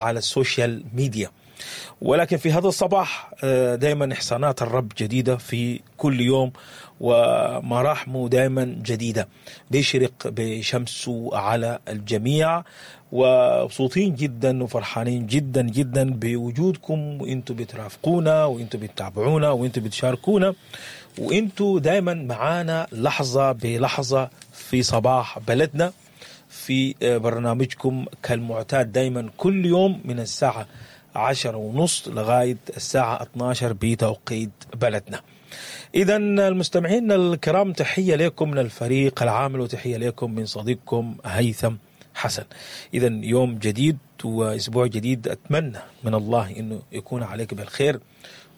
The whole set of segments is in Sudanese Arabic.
على ال social media. ولكن في هذا الصباح دائما إحسانات الرب جديدة في كل يوم، ومراحمه دائما جديدة، بيشرق بشمسه على الجميع. ومبسوطين جدا وفرحانين جدا جدا بوجودكم، وانتم بترافقونا وانتم بتتابعونا وانتم بتشاركونا وانتم دائما معانا لحظة بلحظة في صباح بلدنا في برنامجكم كالمعتاد دائما كل يوم من الساعة 10:30 لغاية الساعة 12 بتوقيت بلدنا. إذا المستمعين الكرام، تحية لكم من الفريق العامل وتحية لكم من صديقكم هيثم حسن. إذا يوم جديد وأسبوع جديد، أتمنى من الله إنه يكون عليك بالخير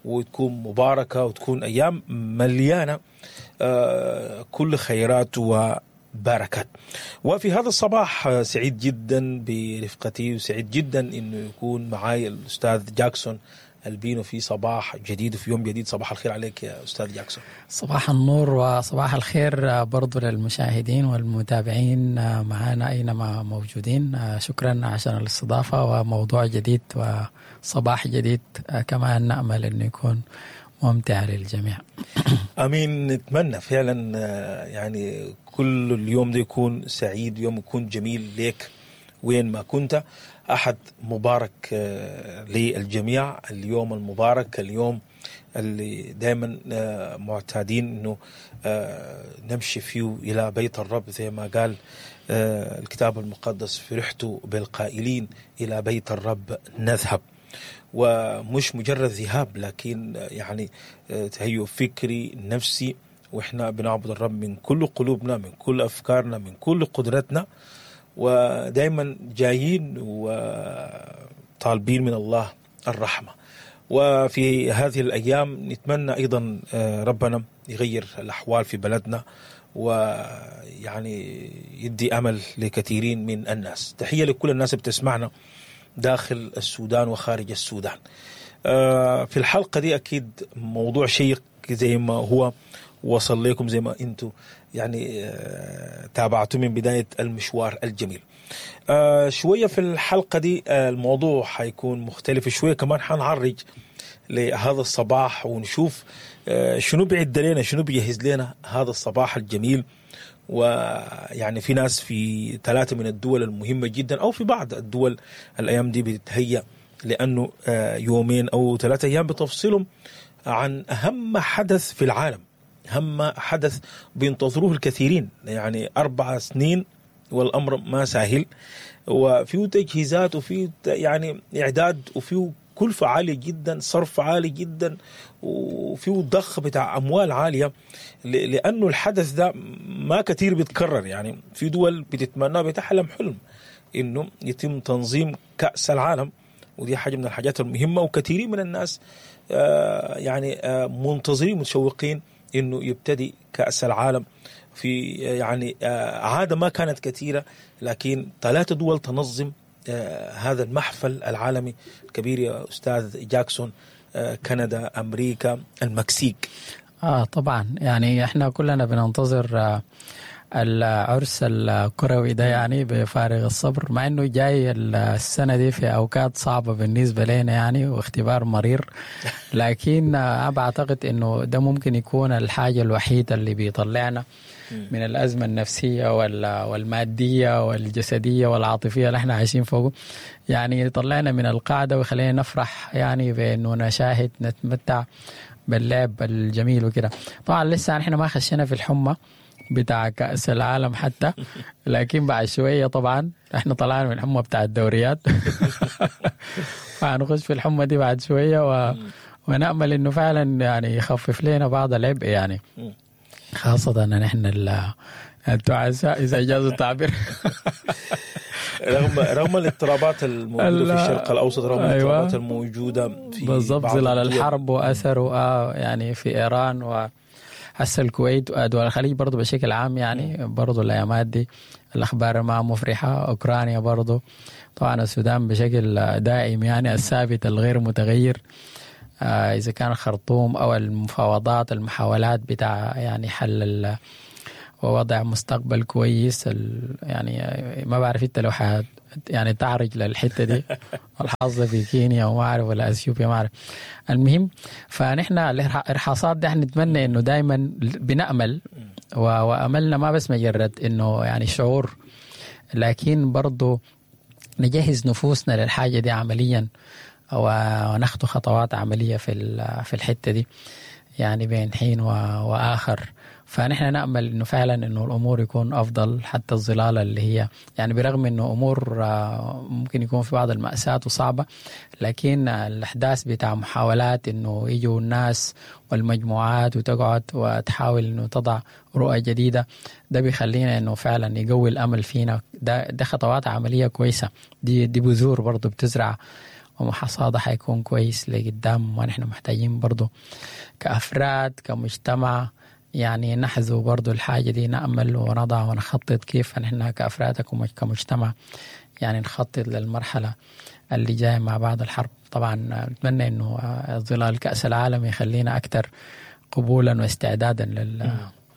وتكون مباركة وتكون أيام مليانة كل خيرات وبركات. وفي هذا الصباح سعيد جدا برفقتي، وسعيد جدا إنه يكون معاي الأستاذ جاكسون البينو في صباح جديد وفي يوم جديد. صباح الخير عليك يا أستاذ جاكسون. صباح النور وصباح الخير برضو للمشاهدين والمتابعين معنا أينما موجودين. شكرا عشان الاستضافة وموضوع جديد وصباح جديد كمان نأمل أنه يكون ممتع للجميع. أمين. نتمنى فعلا يعني كل اليوم ده يكون سعيد، يوم يكون جميل ليك وين ما كنت. أحد مبارك للجميع، اليوم المبارك، اليوم اللي دائما معتادين أنه نمشي فيه إلى بيت الرب، زي ما قال الكتاب المقدس: فرحت بالقائلين إلى بيت الرب نذهب. ومش مجرد ذهاب، لكن يعني تهيؤ فكري نفسي، وإحنا بنعبد الرب من كل قلوبنا، من كل أفكارنا، من كل قدرتنا، ودائما جايين وطالبين من الله الرحمة. وفي هذه الأيام نتمنى أيضا ربنا يغير الأحوال في بلدنا، ويعني يدي أمل لكثيرين من الناس. تحية لكل الناس بتسمعنا داخل السودان وخارج السودان. في الحلقة دي أكيد موضوع شيق زي ما هو وصل لكم، زي ما أنتم يعني تابعتوا من بداية المشوار الجميل. شوية في الحلقة دي الموضوع حيكون مختلف شوية، كمان حنعرج لهذا الصباح ونشوف شنو بيعد لنا، شنو بيجهز لنا هذا الصباح الجميل. ويعني في ناس في 3 من الدول المهمة جدا، أو في بعض الدول الأيام دي بتتهيأ لأنه يومين أو 3 أيام بتفصلهم عن أهم حدث في العالم، أهم حدث بينتظروه الكثيرين، يعني 4 سنين والأمر ما سهل، وفيه تجهيزات وفيه يعني إعداد وفيه كلفة عالية جدا، صرف عالي جدا، وفيه ضخ بتاع أموال عالية، لأنه الحدث ده ما كثير بيتكرر. يعني في دول بتتمنى، بتحلم حلم إنه يتم تنظيم كأس العالم، ودي حاجة من الحاجات المهمة، وكثيرين من الناس يعني منتظرين متشوقين إنه يبتدي كأس العالم في يعني عادة ما كانت كثيرة، لكن 3 دول تنظم هذا المحفل العالمي الكبير يا أستاذ جاكسون: كندا، أمريكا، المكسيك. طبعا يعني احنا كلنا بننتظر العرس الكروي ده يعني بفارغ الصبر، مع انه جاي السنة دي في اوقات صعبة بالنسبة لنا يعني واختبار مرير، لكن بعتقد انه ده ممكن يكون الحاجة الوحيدة اللي بيطلعنا من الأزمة النفسية والمادية والجسدية والعاطفية اللي احنا عايشين فوقه، يعني يطلعنا من القاعدة ويخلينا نفرح يعني بأنه نشاهد نتمتع باللعب الجميل وكده. طبعا لسه احنا ما خشينا في الحمى بتاع كأس العالم حتى، لكن بعد شوية طبعا احنا طلعنا من الحمى بتاع الدوريات فهنخش في الحمى دي بعد شوية ونأمل انه فعلا يعني يخفف لنا بعض العبء، يعني خاصة ان احنا التعساء اذا جاز التعبير. رغم الاضطرابات الموجودة في الشرق الأوسط، رغم الاضطرابات الموجودة في بالضبط ظلال الحرب وأثره يعني في إيران و هسه الكويت ودول الخليج برضو بشكل عام، يعني برضو الأيامات دي الأخبار ما مفرحة. أوكرانيا برضو، طبعا السودان بشكل دائم يعني الثابت الغير متغير، إذا كان الخرطوم أو المفاوضات المحاولات بتاع يعني حل ووضع مستقبل كويس. يعني ما بعرف انت لو يعني تعرج للحتة دي الحظ في كينيا وما اعرف ولا اثيوبيا ما اعرف. المهم فنحن الارهاصات دي احنا نتمنى انه دائما بنامل، واملنا ما بس مجرد انه يعني شعور، لكن برضو نجهز نفوسنا للحاجة دي عمليا، ونخطو خطوات عملية في الحتة دي يعني بين حين واخر. فنحن نأمل إنه فعلا إنه الأمور يكون أفضل، حتى الظلال اللي هي يعني برغم إنه أمور ممكن يكون في بعض المأساة وصعبة، لكن الأحداث بتاع محاولات إنه يجوا الناس والمجموعات وتقعد وتحاول إنه تضع رؤى جديدة، ده بيخلينا إنه فعلا يقوي الأمل فينا. ده خطوات عملية كويسة، دي بذور برضو بتزرع ومحصادة حيكون كويس لقدام. ونحن محتاجين برضو كأفراد كمجتمع يعني نحذو برضو الحاجة دي، نأمل ونضع ونخطط كيف نحن كأفراد كمجتمع يعني نخطط للمرحلة اللي جاية مع بعض الحرب. طبعا نتمنى إنه ظلال كأس العالم يخلينا أكثر قبولا واستعدادا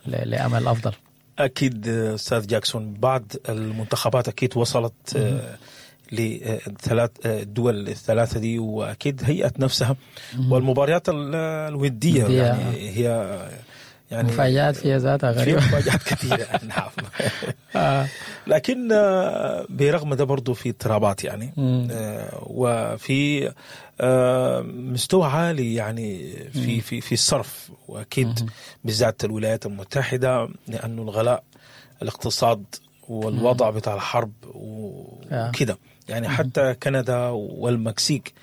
لأمل أفضل. أكيد أستاذ جاكسون، بعض المنتخبات أكيد وصلت لثلاث الدول الثلاثة دي، وأكيد هيئت نفسها، والمباريات الودية يعني هي يعني مفاجآت فيها ذاتها غريبة، مفاجآت كثيرة. نعم. لكن برغم ده برضو في اضطرابات يعني، وفي مستوى عالي يعني في في في الصرف، واكيد بالذات الولايات المتحدة، لأنه الغلاء الاقتصاد والوضع بتاع الحرب وكده يعني. حتى كندا والمكسيك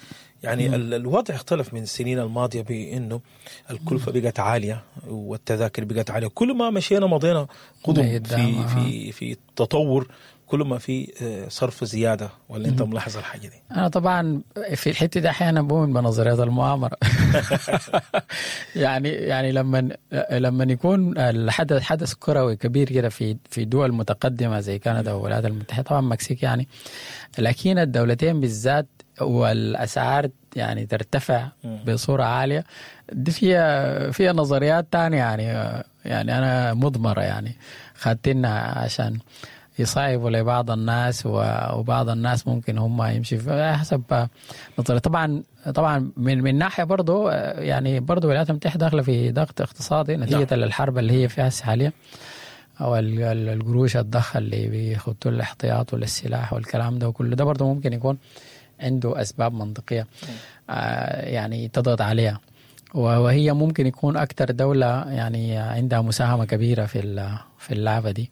يعني الوضع اختلف من السنين الماضية بأنه الكلفة بقت عالية والتذاكر بقت عالية. كل ما مشينا مضينا قدم في في في التطور، كل ما في صرف زيادة. ولا أنت ملاحظ الحاجة دي؟ أنا طبعا في الحتة دي أحيانا بؤمن بنظريات المؤامرة. يعني لما يكون الحدث حدث كروي كبير كده في دول متقدمة زي كندا والولايات المتحدة، طبعا المكسيك يعني، لكن الدولتين بالذات والأسعار يعني ترتفع بصورة عالية، دي فيها نظريات تانية يعني أنا مضمرة يعني خدتنا عشان يصعبوا لبعض الناس، وبعض الناس ممكن هم يمشي حسب نظرية. طبعا من ناحية برضو يعني برضو الولايات المتحدة داخلة في ضغط اقتصادي نتيجة للحرب اللي هي فيها حاليا، أو القروش الضخ اللي بيخطوا الاحتياط والسلاح والكلام ده وكله ده برضو ممكن يكون عنده أسباب منطقية يعني تضغط عليها، وهي ممكن يكون أكثر دولة يعني عندها مساهمة كبيرة في اللعبة دي.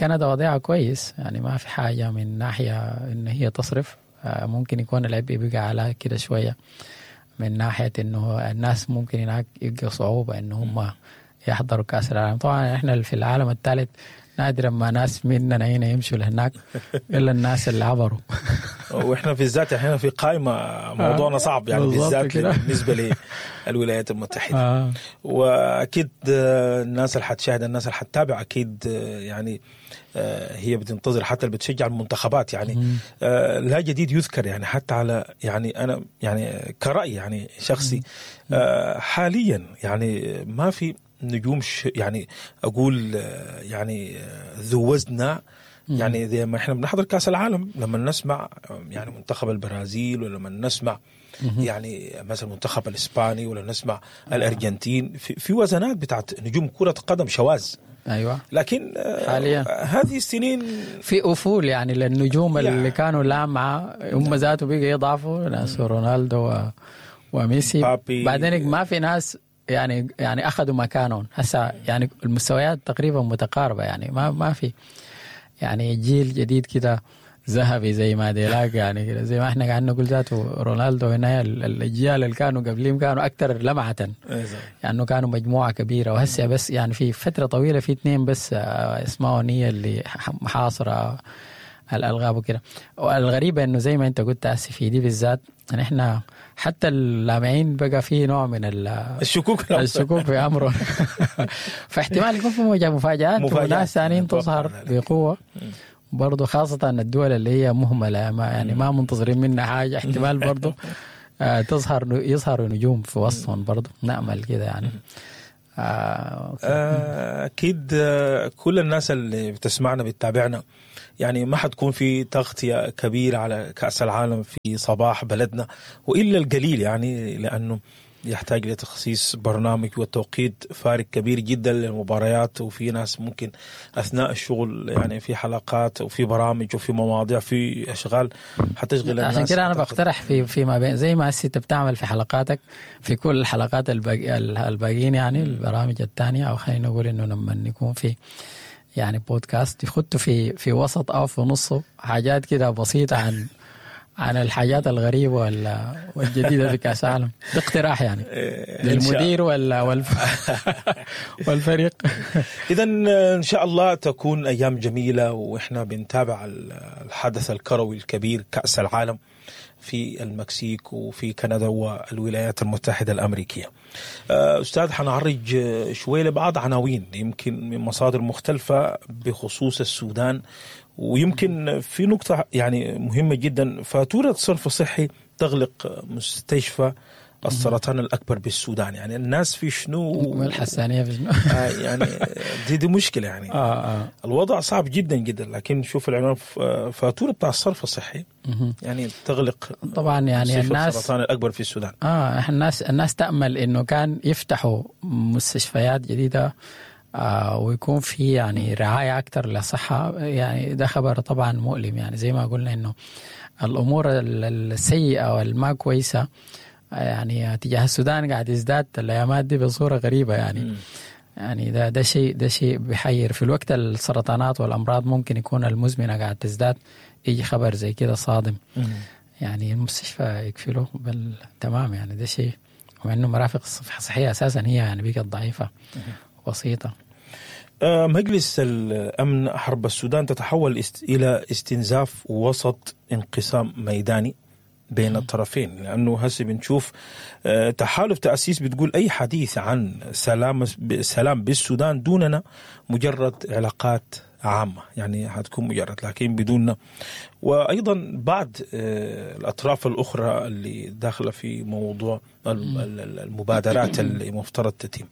كندا وضعها كويس يعني، ما في حاجة من ناحية إن هي تصرف. ممكن يكون العبء بقى على كده شوية من ناحية إنه الناس ممكن هناك يبقى صعوبة إن هم يحضروا كأس العالم. طبعا إحنا في العالم الثالث نادرا ما ناس مننا هنا يمشوا لهناك إلا الناس اللي عبروا. وإحنا في الذات إحنا في قائمة موضوعنا صعب يعني بالذات بالنسبة للولايات المتحدة. وأكيد الناس اللي حتشاهد، الناس اللي حتتابع أكيد يعني هي بتنتظر، حتى اللي بتشجع المنتخبات يعني لا جديد يذكر يعني. حتى على يعني أنا يعني كرأي يعني شخصي حاليا يعني ما في نجوم يعني أقول يعني ذو وزن يعني زي ما إحنا بنحضر كأس العالم لما نسمع يعني منتخب البرازيل، ولما نسمع يعني مثلا منتخب الإسباني، ولا نسمع الأرجنتين، في وزنات بتاعت نجوم كرة قدم شواذ. أيوة. لكن حاليا هذه السنين في أفول يعني للنجوم اللي كانوا لامعة هم ذاته بقى يضعفوا، ناس رونالدو وميسي. بعدين ما في ناس يعني أخذوا مكانهم هسه، يعني المستويات تقريبا متقاربة يعني، ما في يعني جيل جديد كده ذهبي زي ما ديلاك يعني كده، زي ما احنا قاعدين نقول ذاته رونالدو هنا، الأجيال اللي كانوا قبلهم كانوا أكثر لمعة يعني، كانوا مجموعة كبيرة. وهسه بس يعني في فترة طويلة في اثنين بس اسمهم هي اللي محاصرة الألغاب وكده. والغريبة إنه زي ما أنت قلت هسه في دي بالذات يعني إحنا حتى اللامعين بقى فيه نوع من الشكوك في أمره. فاحتمال يكون في مفاجآت وناس ثانيين تظهر بقوة برضو، خاصة الدول اللي هي مهملة ما يعني ما منتظرين منها حاجة، احتمال برضو يظهروا نجوم في وسطهم برضو، نأمل كده يعني. اكيد كل الناس اللي بتسمعنا بتتابعنا يعني ما حتكون في تغطيه كبيرة على كاس العالم في صباح بلدنا والا القليل، يعني لانه يحتاج لتخصيص برنامج وتوقيت فارق كبير جدا للمباريات، وفي ناس ممكن اثناء الشغل يعني في حلقات وفي برامج وفي مواضيع في اشغال حتشغل الناس. عشان كده انا بقترح في ما بين زي ما انت بتعمل في حلقاتك في كل الحلقات الباقيين يعني البرامج الثانية، او خلينا نقول انه لما يكون في يعني بودكاست يخطوا في وسط او في نصه حاجات كده بسيطة عن الحاجات الغريبة والجديدة في كأس العالم. ده اقتراح يعني للمدير والفريق. إذا إن شاء الله تكون أيام جميلة وإحنا بنتابع الحدث الكروي الكبير كأس العالم في المكسيك وفي كندا والولايات المتحدة الأمريكية. أستاذ، حنعرج شوية لبعض عناوين يمكن من مصادر مختلفة بخصوص السودان، ويمكن في نقطة يعني مهمة جدا، فاتورة صرف صحي تغلق مستشفى السرطان الأكبر بالسودان. يعني الناس في شنو والحسانية في شنو؟ يعني دي مشكلة يعني. الوضع صعب جدا جدا، لكن شوف العنوان، فاتورة بتاع الصرف الصحي يعني تغلق طبعا يعني الناس السرطان الأكبر في السودان. الناس تأمل إنه كان يفتحوا مستشفيات جديدة ويكون في يعني رعاية أكثر للصحة. يعني ده خبر طبعا مؤلم، يعني زي ما قلنا إنه الأمور السيئة والما كويسة يعني تجاه السودان قاعد يزداد الأيامات دي بصورة غريبة يعني. يعني ده شيء بحير. في الوقت السرطانات والأمراض ممكن يكون المزمنة قاعد تزداد، يجي خبر زي كده صادم. يعني المستشفى يكفله بل تمام، يعني ده شيء، ومع إنه مرافق الصحية أساسا هي يعني بقت ضعيفة بسيطة. مجلس الأمن، حرب السودان تتحول إلى استنزاف وسط انقسام ميداني بين الطرفين، لأنه هسه بنشوف تحالف تأسيس بتقول أي حديث عن سلام بالسودان دوننا مجرد علاقات عامة، يعني هتكون مجرد لكن بدوننا. وأيضا بعض الأطراف الأخرى اللي داخلة في موضوع المبادرات اللي مفترض تتم،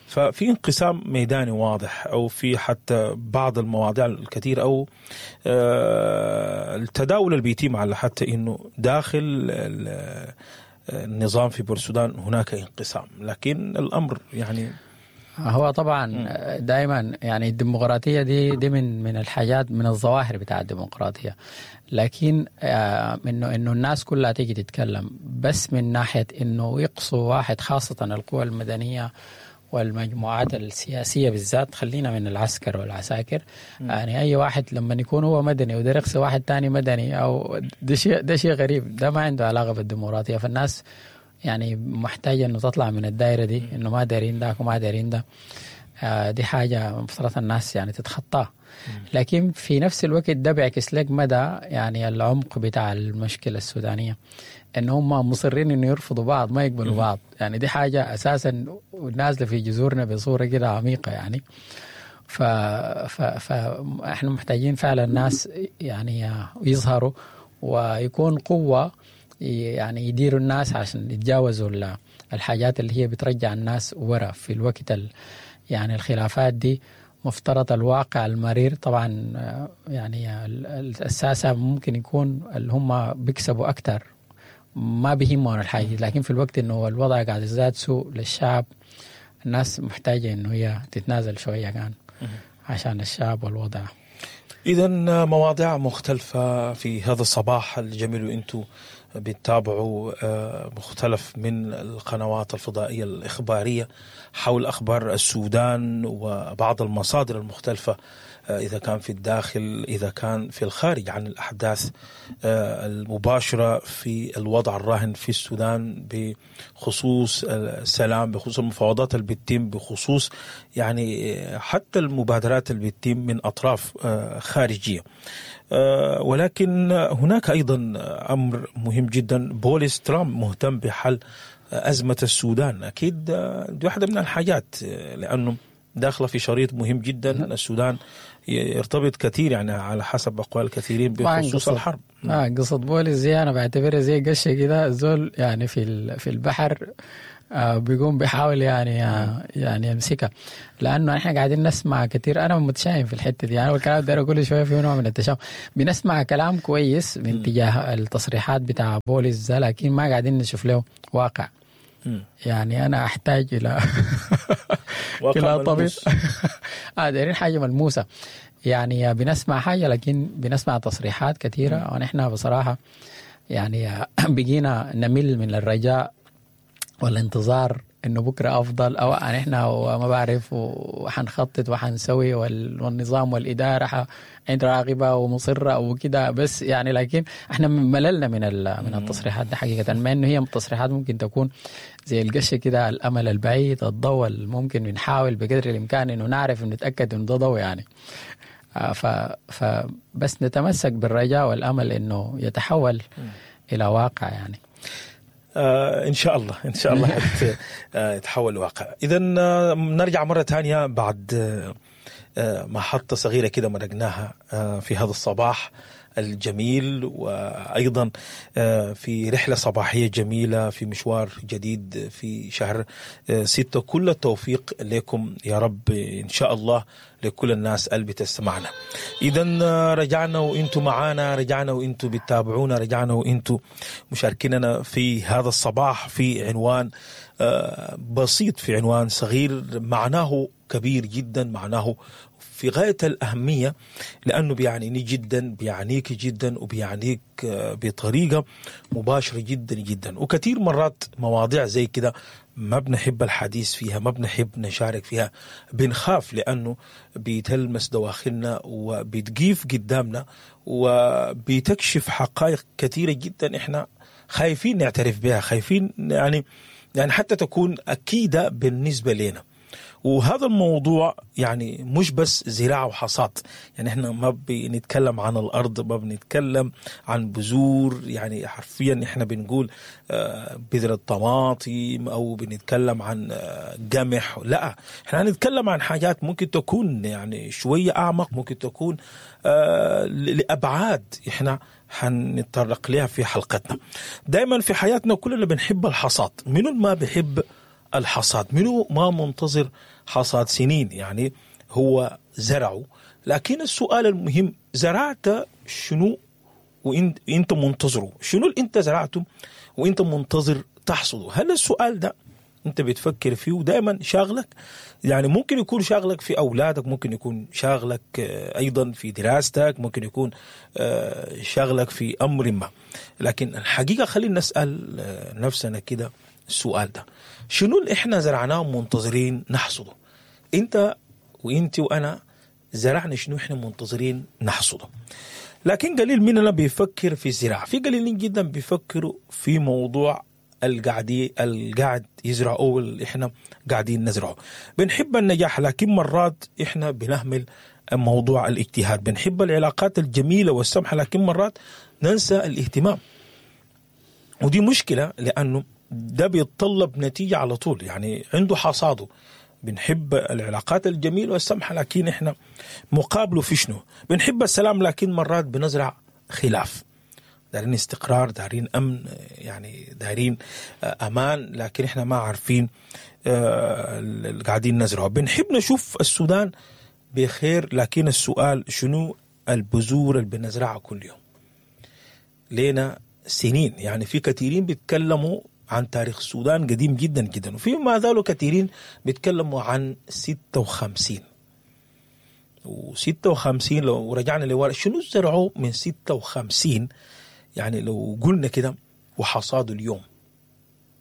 ففي انقسام ميداني واضح، أو في حتى بعض المواضيع الكثير أو التداول اللي بيتم على حتى إنه داخل النظام في بورسودان هناك انقسام، لكن الأمر يعني هو طبعا دائما يعني الديمقراطية دي من الحاجات، من الظواهر بتاع الديمقراطية، لكن انه الناس كلها تيجي تتكلم، بس من ناحية انه يقصوا واحد، خاصة القوى المدنية والمجموعات السياسية بالذات، خلينا من العسكر والعساكر، يعني أي واحد لما يكون هو مدني وده يقصي واحد تاني مدني، أو ده شيء غريب، ده ما عنده علاقة بالديمقراطية. فالناس يعني محتاجة إنه تطلع من الدائرة دي، إنه ما دارين ده وما دارين ده، دي حاجة مفترض الناس يعني تتخطاها. لكن في نفس الوقت ده بيعكس لك مدى يعني العمق بتاع المشكلة السودانية، إن هم مصرين إنه يرفضوا بعض، ما يقبلوا بعض. يعني دي حاجة أساسا نازلة في جذورنا بصورة كده عميقة يعني. فإحنا محتاجين فعلا الناس يعني يظهروا ويكون قوة، يعني يديروا الناس عشان يتجاوزوا الحاجات اللي هي بترجع الناس ورا في الوقت يعني الخلافات دي. مفترض الواقع المرير طبعا يعني الساسة ممكن يكون اللي هم بيكسبوا أكتر، ما بيهمهم الحاجة، لكن في الوقت إنه الوضع قاعد يزداد سوء للشعب، الناس محتاجة إنه هي تتنازل شوية كان عشان الشعب والوضع. إذا مواضيع مختلفة في هذا الصباح الجميل، وإنتو بتتابعوا مختلف من القنوات الفضائية الإخبارية حول أخبار السودان وبعض المصادر المختلفة، إذا كان في الداخل إذا كان في الخارج، عن الأحداث المباشرة في الوضع الراهن في السودان بخصوص السلام، بخصوص المفاوضات اللي بتتم، بخصوص يعني حتى المبادرات اللي بتتم من أطراف خارجية. ولكن هناك أيضا أمر مهم جدا، بوليس ترامب مهتم بحل أزمة السودان. أكيد دي واحدة من الحاجات، لأنه داخلة في شريط مهم جدا. السودان يرتبط كثير يعني على حسب أقوال كثيرين بخصوص الحرب. قصة بوليس زي أنا بعتبرها زي قشة كده، زول يعني في البحر بيقوم بيحاول يعني يعني يمسكها، لانه احنا قاعدين نسمع كثير. انا متشائم في الحتة دي، انا والكلام ده كل شوية في نوع من التشاؤم. بنسمع كلام كويس من تجاه التصريحات بتاع بوليس ده، لكن ما قاعدين نشوف له واقع. يعني انا احتاج الى الى طبيب. دايرين حاجة ملموسة. يعني بنسمع حاجة لكن بنسمع تصريحات كثيرة، ونحن بصراحة يعني بقينا نمل من الرجاء والانتظار انه بكره افضل، او نحن وما بعرف وحنخطط وحنسوي والنظام والادارة عند راغبه ومصره وكده، بس يعني لكن احنا مللنا من التصريحات دي حقيقة، مع انه هي تصريحات ممكن تكون زي القشه كده، الامل البعيد، الضوء ممكن بنحاول بقدر الامكان انه نعرف ونتاكد انه ده ضوء يعني. فبس نتمسك بالرجاء والامل انه يتحول الى واقع يعني. ان شاء الله، ان شاء الله يتحول لواقع. اذا نرجع مرة ثانية بعد محطة صغيرة كده مرقناها في هذا الصباح الجميل، وايضا في رحله صباحية جميلة في مشوار جديد في شهر 6. كل التوفيق لكم يا رب ان شاء الله، لكل الناس اللي بتسمعنا. اذا رجعنا وانتم معانا، رجعنا وانتم بتتابعونا، رجعنا وانتم مشاركيننا في هذا الصباح في عنوان بسيط، في عنوان صغير معناه كبير جدا، معناه في غاية الأهمية، لأنه بيعنيني جدا، بيعنيك جدا، وبيعنيك بطريقة مباشرة جدا جدا. وكثير مرات مواضيع زي كده ما بنحب الحديث فيها، ما بنحب نشارك فيها، بنخاف لأنه بتلمس دواخلنا وبتقيف قدامنا وبتكشف حقائق كثيرة جدا إحنا خايفين نعترف بها، خايفين يعني حتى تكون أكيدة بالنسبة لنا. وهذا الموضوع يعني مش بس زراعة وحصاد، يعني احنا ما بنتكلم عن الأرض، ما بنتكلم عن بذور، يعني حرفيا احنا بنقول بذرة طماطم أو بنتكلم عن قمح، لا احنا هنتكلم عن حاجات ممكن تكون يعني شوية أعمق، ممكن تكون لأبعاد احنا هنتطرق لها في حلقتنا. دايما في حياتنا كلنا بنحب الحصاد، منو ما بيحب الحصاد؟ منو ما منتظر حصاد سنين يعني هو زرعه؟ لكن السؤال المهم، زرعت شنو وانت منتظره؟ شنو اللي انت زرعته وانت منتظر تحصده؟ هل السؤال ده انت بتفكر فيه ودائما شاغلك؟ يعني ممكن يكون شاغلك في اولادك، ممكن يكون شاغلك ايضا في دراستك، ممكن يكون شاغلك في امر ما، لكن الحقيقة خلينا نسال نفسنا كده السؤال ده، شنو اللي احنا زرعناه منتظرين نحصده؟ انت وانت وانا زرعنا شنو احنا منتظرين نحصده؟ لكن قليل مننا بيفكر في الزراعة، في قليلين جدا بيفكروا في موضوع القاعد يزرعوه اللي احنا قاعدين نزرعه. بنحب النجاح لكن مرات احنا بنهمل موضوع الاجتهاد، بنحب العلاقات الجميلة والسمحة لكن مرات ننسى الاهتمام، ودي مشكلة لأنه ده بيتطلب نتيجة على طول، يعني عنده حصاده. بنحب العلاقات الجميلة والسمحة لكن احنا مقابله في شنو؟ بنحب السلام لكن مرات بنزرع خلاف، دارين استقرار، دارين أمن، يعني دارين أمان، لكن احنا ما عارفين اللي قاعدين نزرعه. بنحب نشوف السودان بخير لكن السؤال شنو البذور اللي بنزرعها كل يوم؟ لينا سنين، يعني في كثيرين بيتكلموا عن تاريخ السودان قديم جدا جدا، وفي ما زالوا كثيرين بيتكلموا عن 56 و56. لو رجعنا لورا شنو زرعوا من 56؟ يعني لو قلنا كده وحصادوا اليوم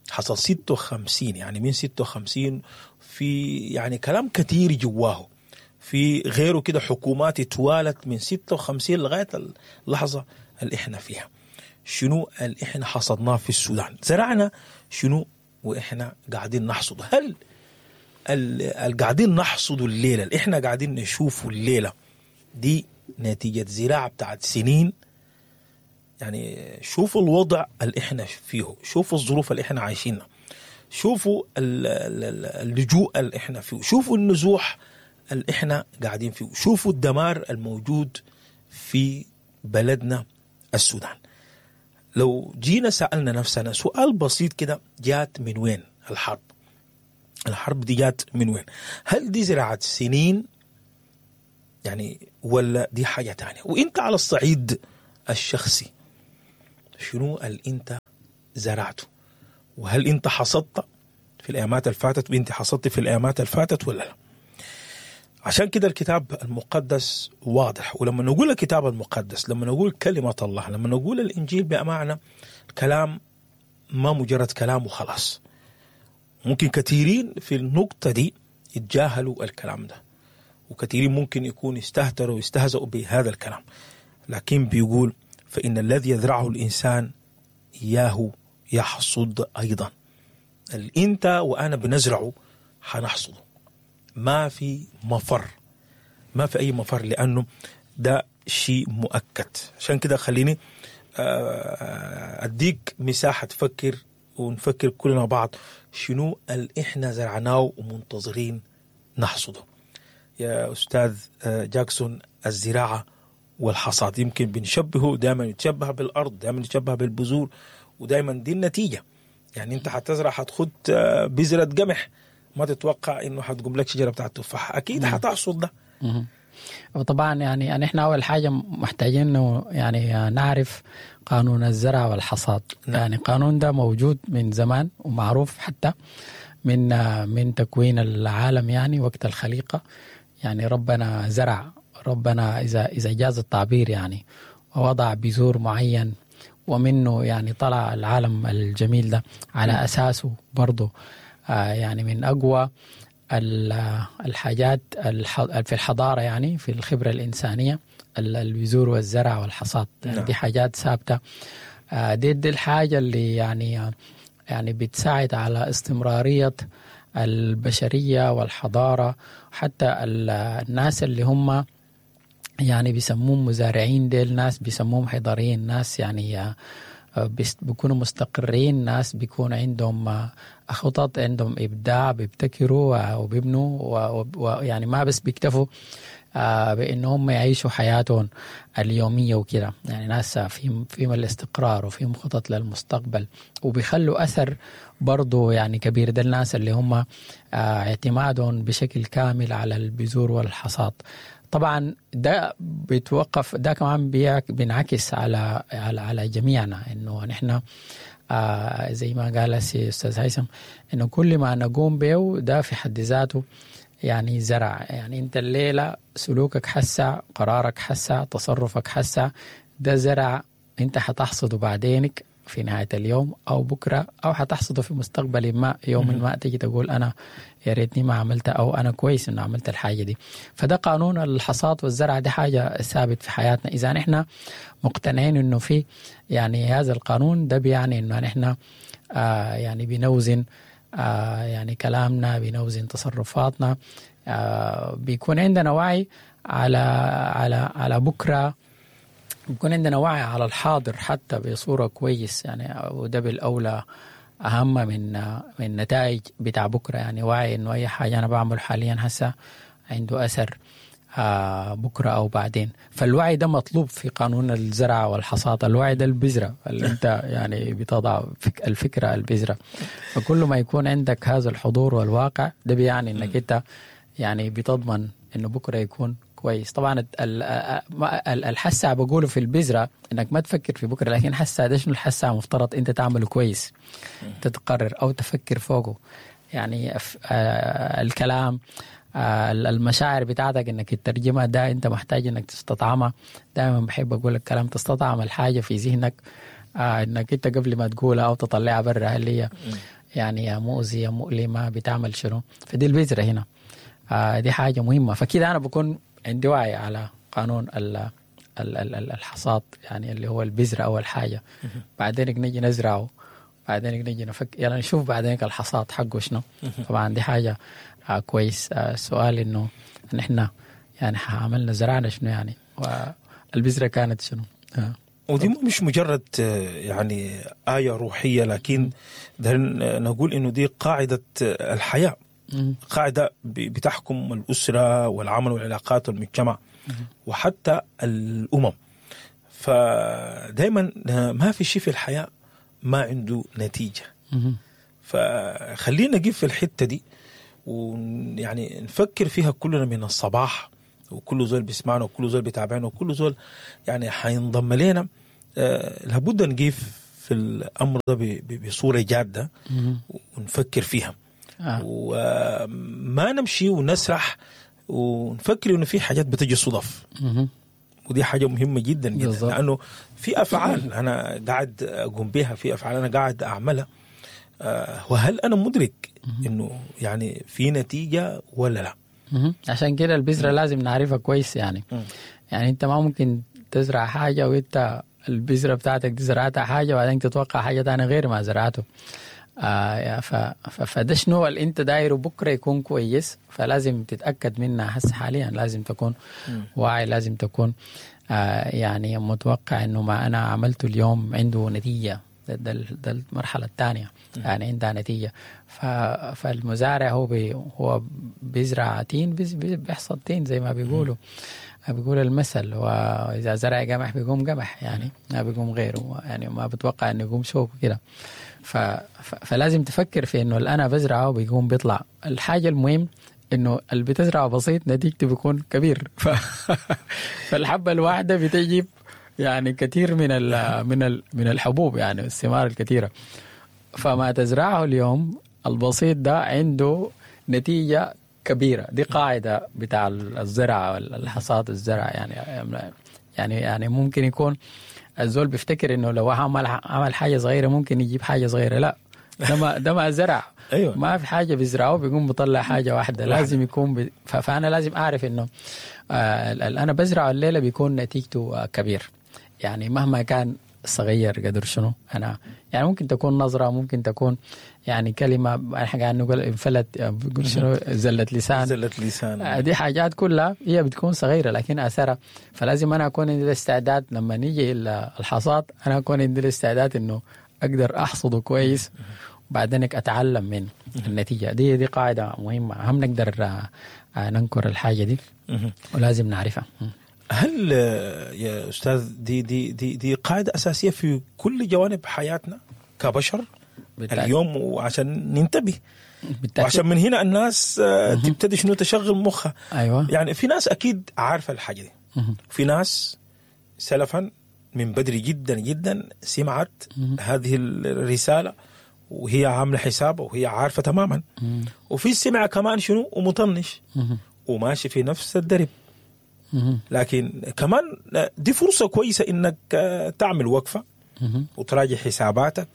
حصل 56، يعني من 56 في يعني كلام كثير جواه، في غيره كده حكومات توالت من 56 لغاية اللحظة اللي احنا فيها. شنو اللي احنا حصدناه في السودان؟ زرعنا شنو واحنا قاعدين نحصده؟ هل اللي قاعدين نحصده الليلة، اللي احنا قاعدين نشوفه الليلة دي نتيجة زراعة بتاعت سنين؟ يعني شوفوا الوضع اللي احنا فيه، شوفوا الظروف اللي احنا عايشينها، شوفوا اللجوء اللي احنا فيه، شوفوا النزوح اللي احنا قاعدين فيه، شوفوا الدمار الموجود في بلدنا السودان. لو جينا سألنا نفسنا سؤال بسيط كده، جات من وين؟ الحرب؟ الحرب دي جات من وين؟ هل دي زراعة سنين يعني ولا دي حاجة تانية؟ وانت على الصعيد الشخصي شنو اللي انت زرعته؟ وهل انت حصدت في الايامات الفاتت وانت حصدت في الايامات الفاتت ولا لا؟ عشان كده الكتاب المقدس واضح. ولما نقول الكتاب المقدس، لما نقول كلمة الله، لما نقول الإنجيل، بأمانة الكلام ما مجرد كلام وخلاص. ممكن كثيرين في النقطة دي يتجاهلوا الكلام ده، وكثيرين ممكن يكون يستهتروا ويستهزئوا بهذا الكلام، لكن بيقول فإن الذي يزرعه الإنسان إياه يحصد أيضا. اللي أنت وأنا بنزرعه حنحصده، ما في مفر، ما في أي مفر، لأنه ده شيء مؤكد. عشان كده خليني أديك مساحة تفكر ونفكر كلنا بعض شنو اللي إحنا زرعناه ومنتظرين نحصده. يا أستاذ جاكسون، الزراعة والحصاد يمكن بنشبهه دائما، يتشبه بالأرض، دائما يتشبه بالبذور، ودائما دي النتيجة. يعني أنت حتزرع، حتخد بذرة قمح، ما تتوقع انه حتقوم لك شجرة بتاعت تفاح، اكيد حتحصد ده. وطبعا يعني احنا اول حاجة محتاجين انه يعني نعرف قانون الزرع والحصاد. نعم. يعني القانون ده موجود من زمان ومعروف حتى من تكوين العالم، يعني وقت الخليقة، يعني ربنا زرع، ربنا اذا جاز التعبير يعني ووضع بذور معين ومنه يعني طلع العالم الجميل ده على اساسه برضه. يعني من أقوى الحاجات في الحضارة، يعني في الخبرة الإنسانية، البذور والزرع والحصاد. يعني نعم. دي حاجات ثابتة. دي الحاجة اللي يعني بتساعد على استمرارية البشرية والحضارة. حتى الناس اللي هم يعني بيسموهم مزارعين، ديل ناس بيسموهم حضاريين، ناس يعني بيكونوا مستقرين، ناس بيكون عندهم خطط، عندهم إبداع، بيبتكروا وبيبنوا، ويعني ما بس بيكتفوا بأنهم يعيشوا حياتهم اليومية وكده. يعني ناس فيهم الاستقرار وفيهم خطط للمستقبل وبيخلوا أثر برضو يعني كبير. ده الناس اللي هم اعتمادهم بشكل كامل على البذور والحصاد. طبعا ده بيتوقف، ده كمان بينعكس على على على جميعنا، انه نحن زي ما قال استاذ هيثم انه كل ما نقوم به ده في حد ذاته يعني زرع. يعني انت الليلة سلوكك حسع، قرارك حسع، تصرفك حسع، ده زرع انت حتحصده بعدينك في نهاية اليوم أو بكرة، أو حتحصده في مستقبل ما، يوم ما تيجي تقول أنا يا ريتني ما عملت، أو أنا كويس إنه عملت الحاجة دي. فده قانون الحصاد والزرع، دي حاجة ثابت في حياتنا. إذا نحن مقتنعين إنه في يعني هذا القانون ده، بيعني إنه نحن يعني بنوزن يعني كلامنا، بنوزن تصرفاتنا، بيكون عندنا وعي على على على بكرة، بيكون عندنا وعي على الحاضر حتى بصورة كويس يعني، وده بالأولى أهم من نتائج بتاع بكرة. يعني وعي إنه أي حاجة أنا بعمل حاليا هسه عنده أثر بكرة أو بعدين. فالوعي ده مطلوب في قانون الزرع والحصاد، الوعي ده البذرة اللي أنت يعني بتضع الفكرة البذرة. فكل ما يكون عندك هذا الحضور والواقع ده بيعني إنك أنت يعني بتضمن إنه بكرة يكون كويس. طبعا الحسة بقوله في البذرة انك ما تفكر في بكره، لكن حسة ده شنو الحسة مفترض انت تعمله كويس، تتقرر او تفكر فوقه. يعني الكلام، المشاعر بتاعتك انك تترجمها، ده انت محتاج انك تستطعمها. دائما بحب اقول الكلام تستطعم الحاجة في ذهنك، انك انت قبل ما تقولها او تطلعها برا، هل هي يعني مؤذية مؤلمة، بتعمل شنو. فدي البذرة هنا، دي حاجة مهمة. فكده انا بكون عندي وعي على قانون الحصاد، يعني اللي هو البذرة أول حاجة، بعدين نجي نزرعه، بعدين نجي نفك، يعني نشوف بعدين الحصاد حقه شنو. طبعا دي حاجة كويس. السؤال إنه نحن يعني عملنا زرعنا شنو يعني، والبذرة كانت شنو. ودي مش مجرد يعني آية روحية، لكن نقول إنه دي قاعدة الحياة، قاعدة بتحكم الأسرة والعمل والعلاقات والمجتمع وحتى الأمم. فدايما ما في شيء في الحياة ما عنده نتيجة. فخلينا نقف في الحتة دي ويعني نفكر فيها كلنا من الصباح، وكل زول بيسمعنا وكل زول بيتابعنا وكل زول يعني حينضم لنا. لابد نقف في الأمر ده بصورة جادة ونفكر فيها. وما نمشي ونسرح ونفكر إنه في حاجات بتجي صدف. ودي حاجة مهمة جدا جدا بالزبط. لأنه في أفعال أنا قاعد أقوم بها، في أفعال أنا قاعد أعملها، وهل أنا مدرك إنه يعني في نتيجة ولا لا؟ عشان كده البذرة لازم نعرفها كويس يعني. يعني أنت ما ممكن تزرع حاجة وأنت البذرة بتاعتك دي زرعتها حاجة وبعدين تتوقع حاجة تانية غير ما زرعته. فده شنو اللي انت دايرة بكره يكون كويس، فلازم تتاكد منها هسه حاليا. لازم تكون واعي، لازم تكون يعني متوقع انه ما انا عملته اليوم عنده نتيجة. ده المرحلة الثانية، يعني عندها نتيجة. فالمزارع هو بيزرع تين، بيحصد تين زي ما بيقولوا، بيقول المثل. واذا زرع قمح بيقوم قمح، يعني ما بيقوم غيره، يعني ما بتوقع انه يقوم شوك وكده. فلازم تفكر في انه اللي انا بزرعه بيقوم بيطلع. الحاجة المهم انه اللي بتزرعه بسيط نتيجته بيكون كبير. فالحبه الواحدة بتجيب يعني كثير من الحبوب، يعني الثمار الكثيرة. فما تزرعه اليوم البسيط ده عنده نتيجة كبيرة. دي قاعدة بتاع الزرع والحصاد الزرع. يعني ممكن يكون الزول بيفتكر انه لو عمل حاجة صغيرة ممكن يجيب حاجة صغيرة. لا، ده ما زرع. أيوة. ما في حاجة بيزرعه بيقوم بيطلع حاجة واحدة، لازم يكون فانا لازم اعرف انه انا بزرعه الليلة بيكون نتيجته كبير، يعني مهما كان صغير قدر شنو. انا يعني ممكن تكون نظره، ممكن تكون يعني كلمة، احنا قاعد نقول انفلت، بيقول شنو، زلت لسان، زلت لسان. دي حاجات كلها هي بتكون صغيرة لكن اثرها. فلازم انا اكون عندي الاستعداد لما نيجي الحصاد، انا اكون عندي الاستعداد انه اقدر احصده كويس وبعدين اتعلم من النتيجة دي. دي قاعدة مهمة، هم نقدر ننكر الحاجة دي ولازم نعرفها. هل يا أستاذ دي دي دي دي قاعدة أساسية في كل جوانب حياتنا كبشر بالتأكيد. اليوم، وعشان ننتبه بالتأكيد. وعشان من هنا الناس تبتدي شنو تشغل مخها. أيوة. يعني في ناس أكيد عارفة الحاجة دي، في ناس سلفا من بدري جدا جدا سمعت هذه الرسالة وهي عاملة حسابها وهي عارفة تماما، وفي سمع كمان شنو ومطنش وماشي في نفس الدرب. لكن كمان دي فرصة كويسة إنك تعمل وقفة وتراجع حساباتك،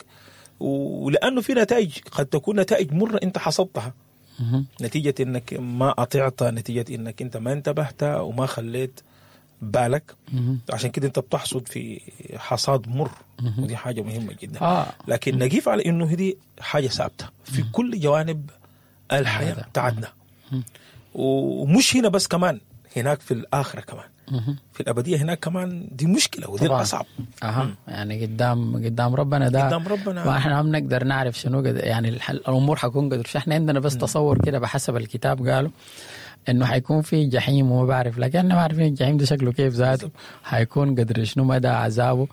ولأنه في نتائج قد تكون نتائج مرة أنت حصدتها نتيجة إنك ما أطعت، نتيجة إنك أنت ما انتبهت وما خليت بالك. عشان كده أنت بتحصد في حصاد مر، ودي حاجة مهمة جدا. لكن نقيف على إنه دي حاجة ثابتة في كل جوانب الحياة بتاعتنا، ومش هنا بس، كمان هناك في الآخرة، كمان في الأبدية هناك كمان دي مشكلة، ودي الأصعب. يعني قدام ربنا ده، قدام ربنا ما احنا ما بنقدر نعرف شنو يعني الأمور حتكون قدر. احنا عندنا بس تصور كده بحسب الكتاب، قالوا إنه حيكون في جحيم وما بعرف، لكن احنا ما عارفين الجحيم ده شكله كيف ذاته، حيكون قدر شنو مدى عذابه.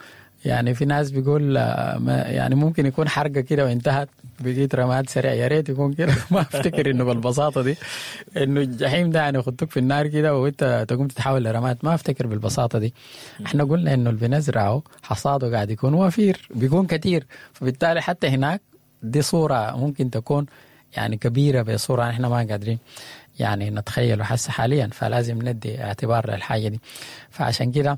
يعني في ناس بيقول يعني ممكن يكون حرقة كده وانتهت، بقيت رماد سريع. يا ريت يكون كده. ما افتكر انه بالبساطة دي، انه الجحيم ده يعني يخطوك في النار كده وانت تقوم تتحول لرماد. ما افتكر بالبساطة دي. احنا قلنا انه اللي بنزرعه حصاده قاعد يكون وفير، بيكون كتير، فبالتالي حتى هناك دي صورة ممكن تكون يعني كبيرة بصورة احنا ما قادرين يعني نتخيله حس حاليا. فلازم ندي اعتبار للحاجة دي. فعشان كده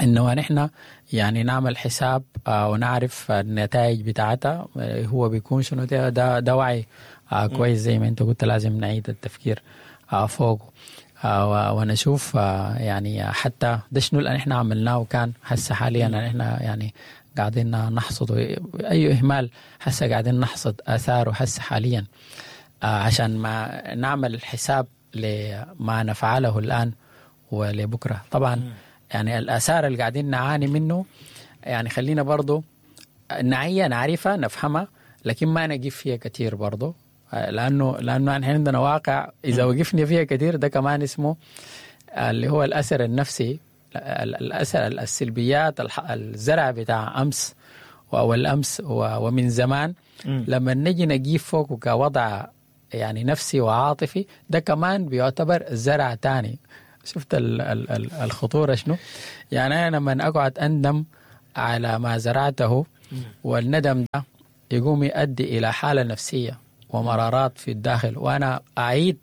انه نحن يعني نعمل حساب ونعرف النتائج بتاعتها هو بيكون شنو. ده وعي كويس زي ما انت قلت، لازم نعيد التفكير فوقه ونشوف يعني حتى ده شنو اللي احنا عملناه وكان هسه حاليا احنا يعني قاعدين نحصد اي اهمال، هسه قاعدين نحصد اثاره هسه حاليا، عشان ما نعمل حساب لما نفعله الان ولبكره. طبعا يعني الآثار اللي قاعدين نعاني منه، يعني خلينا برضو نعية نعرفها نفهمها، لكن ما نقف فيها كتير برضو، لأنه نحن عندنا واقع إذا وقفنا فيها كتير ده كمان اسمه اللي هو الأثر النفسي، الأثر السلبيات، الزرع بتاع أمس واول امس ومن زمان، لما نجي نجيب فوقه كوضع يعني نفسي وعاطفي، ده كمان بيعتبر زرع تاني. شفت الخطورة شنو؟ يعني أنا لما أقعد أندم على ما زرعته، والندم ده يقوم يؤدي إلى حالة نفسية ومرارات في الداخل، وأنا أعيد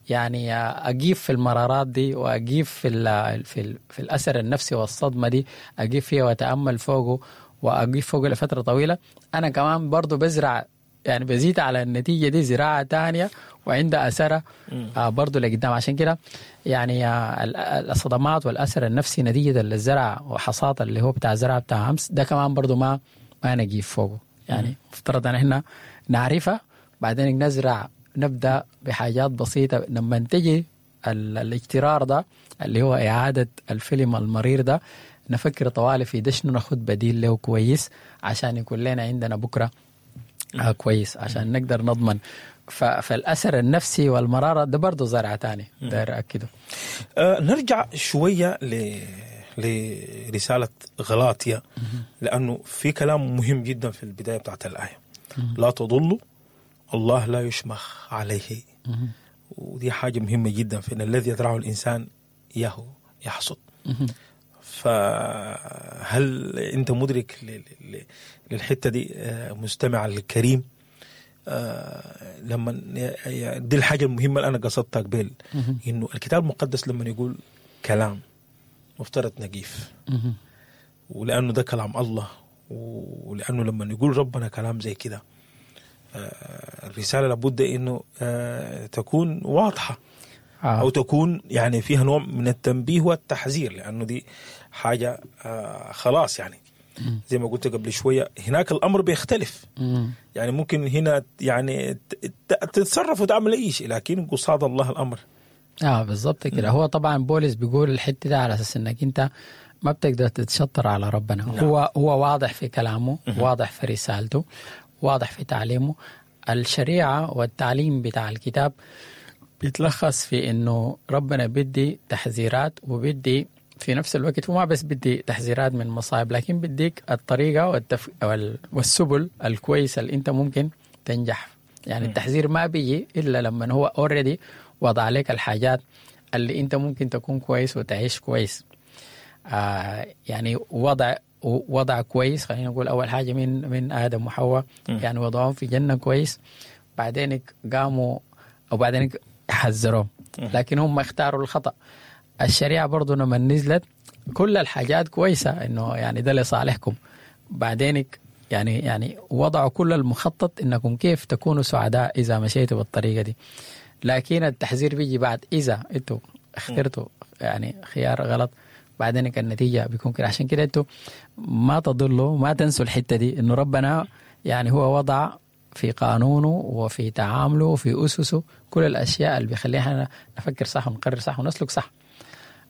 يعني أقيف في المرارات دي، وأقيف في الأثر النفسي والصدمة دي، أقيف فيها وأتأمل فوقه وأقيف فوقه لفترة طويلة. أنا كمان برضو بزرع، يعني بزيد على النتيجة دي زراعة تانية وعندها أثرها برضو لقدام. عشان كده يعني الصدمات والأثر النفسي نتيجة للزرع وحصاد اللي هو بتاع زرع بتاع أمس ده كمان برضو ما نجيب فوقه. يعني مفترض أن احنا نعرفها، بعدين نزرع، نبدأ بحاجات بسيطة. لما تجي الاجترار ده اللي هو إعادة الفيلم المرير ده، نفكر طوالي في ده شنو ناخد بديل له كويس عشان يكون لنا عندنا بكرة كويس، عشان نقدر نضمن. فالأثر النفسي والمرارة ده برضو زرع تاني داير أكده. نرجع شوية لرسالة غلاطيا، لأنه في كلام مهم جدا في البداية بتاعت الآية. لا تضلوا، الله لا يشمخ عليه. ودي حاجة مهمة جدا، فإن الذي يزرعه الإنسان إياه يحصد. فهل أنت مدرك للحتة دي مستمع الكريم؟ لما دي الحاجة المهمة اللي أنا قصدتها قبل، إنه الكتاب المقدس لما يقول كلام مفترض نقيف، ولأنه ده كلام الله، ولأنه لما يقول ربنا كلام زي كده الرسالة لابد إنه تكون واضحة، أو تكون يعني فيها نوع من التنبيه والتحذير، لأنه دي حاجة خلاص يعني زي ما قلت قبل شوية هناك الأمر بيختلف. يعني ممكن هنا يعني تتصرف وتعمل أي شيء، لكن قصاد الله الأمر. بالضبط كده. هو طبعا بولس بيقول الحتة ده على أساس إنك أنت ما بتقدر تتشطر على ربنا. نعم. هو واضح في كلامه، واضح في رسالته، واضح في تعليمه. الشريعة والتعليم بتاع الكتاب بيتلخص في إنه ربنا بدي تحذيرات، وبدي في نفس الوقت وما بس بدي تحذيرات من مصايب، لكن بديك الطريقة والسبل الكويسة اللي أنت ممكن تنجح. يعني التحذير ما بيجي إلا لما هو already وضع عليك الحاجات اللي أنت ممكن تكون كويس وتعيش كويس. يعني وضع كويس، خلينا نقول أول حاجة من آدم وحواء، يعني وضعهم في جنة كويس، بعدين قاموا وبعدين حذروهم، لكن هم اختاروا الخطأ. الشريعة برضو لما نزلت كل الحاجات كويسة، إنه يعني ده لصالحكم، بعدين يعني وضعوا كل المخطط إنكم كيف تكونوا سعداء إذا مشيتوا بالطريقة دي. لكن التحذير بيجي بعد إذا أنتوا اخترتوا يعني خيار غلط، بعدين النتيجة بيكون كده. عشان كده أنتوا ما تضلوا، ما تنسوا الحتة دي، إنه ربنا يعني هو وضع في قانونه وفي تعامله وفي أسسه كل الأشياء اللي بيخلينا نفكر صح ونقرر صح ونسلك صح.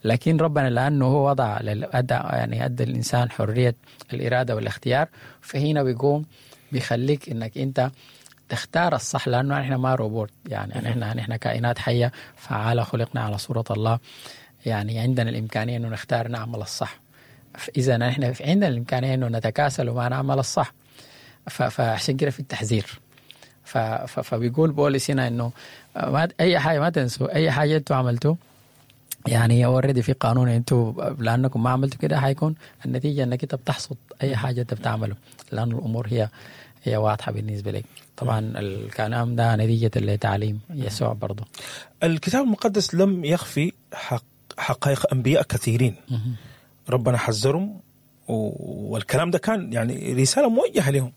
لكن ربنا لأنه هو وضع يعني أدى الإنسان حرية الإرادة والاختيار، فهنا بيقوم بيخليك إنك أنت تختار الصح، لأنه نحن ما روبوت، يعني نحن كائنات حية فعالة، خلقنا على صورة الله، يعني عندنا الإمكانية إنه نختار نعمل الصح. إذا نحن عندنا الإمكانية إنه نتكاسل وما نعمل الصح، فعشان كده في التحذير. فبيقول بولس هنا إنه ما أي حاجة، ما تنسوا أي حاجة أنتوا عملتوه، يعني already في قانون، أنتوا لأنكم ما عملتوا كده حيكون النتيجة إنك أنت بتحصد أي حاجة أنت بتعمله، لأن الأمور هي واضحة بالنسبة لك. طبعا الكلام ده نتيجة لتعليم يسوع برضو. الكتاب المقدس لم يخفي حقائق أنبياء كثيرين، ربنا حذرهم، والكلام ده كان يعني رسالة موجهة لهم.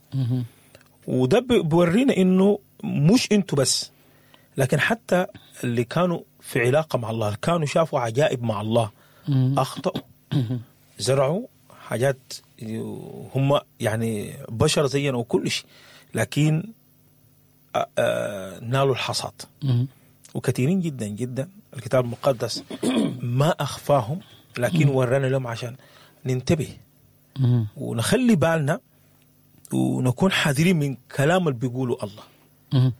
وده بورينا إنه مش أنتوا بس، لكن حتى اللي كانوا في علاقة مع الله، كانوا شافوا عجائب مع الله، أخطأوا، زرعوا حاجات، هم يعني بشر زينا وكل شيء، لكن نالوا الحصاد. وكثيرين جدا جدا الكتاب المقدس ما أخفاهم، لكن ورانا لهم عشان ننتبه ونخلي بالنا ونكون حذرين من كلام اللي بيقوله الله.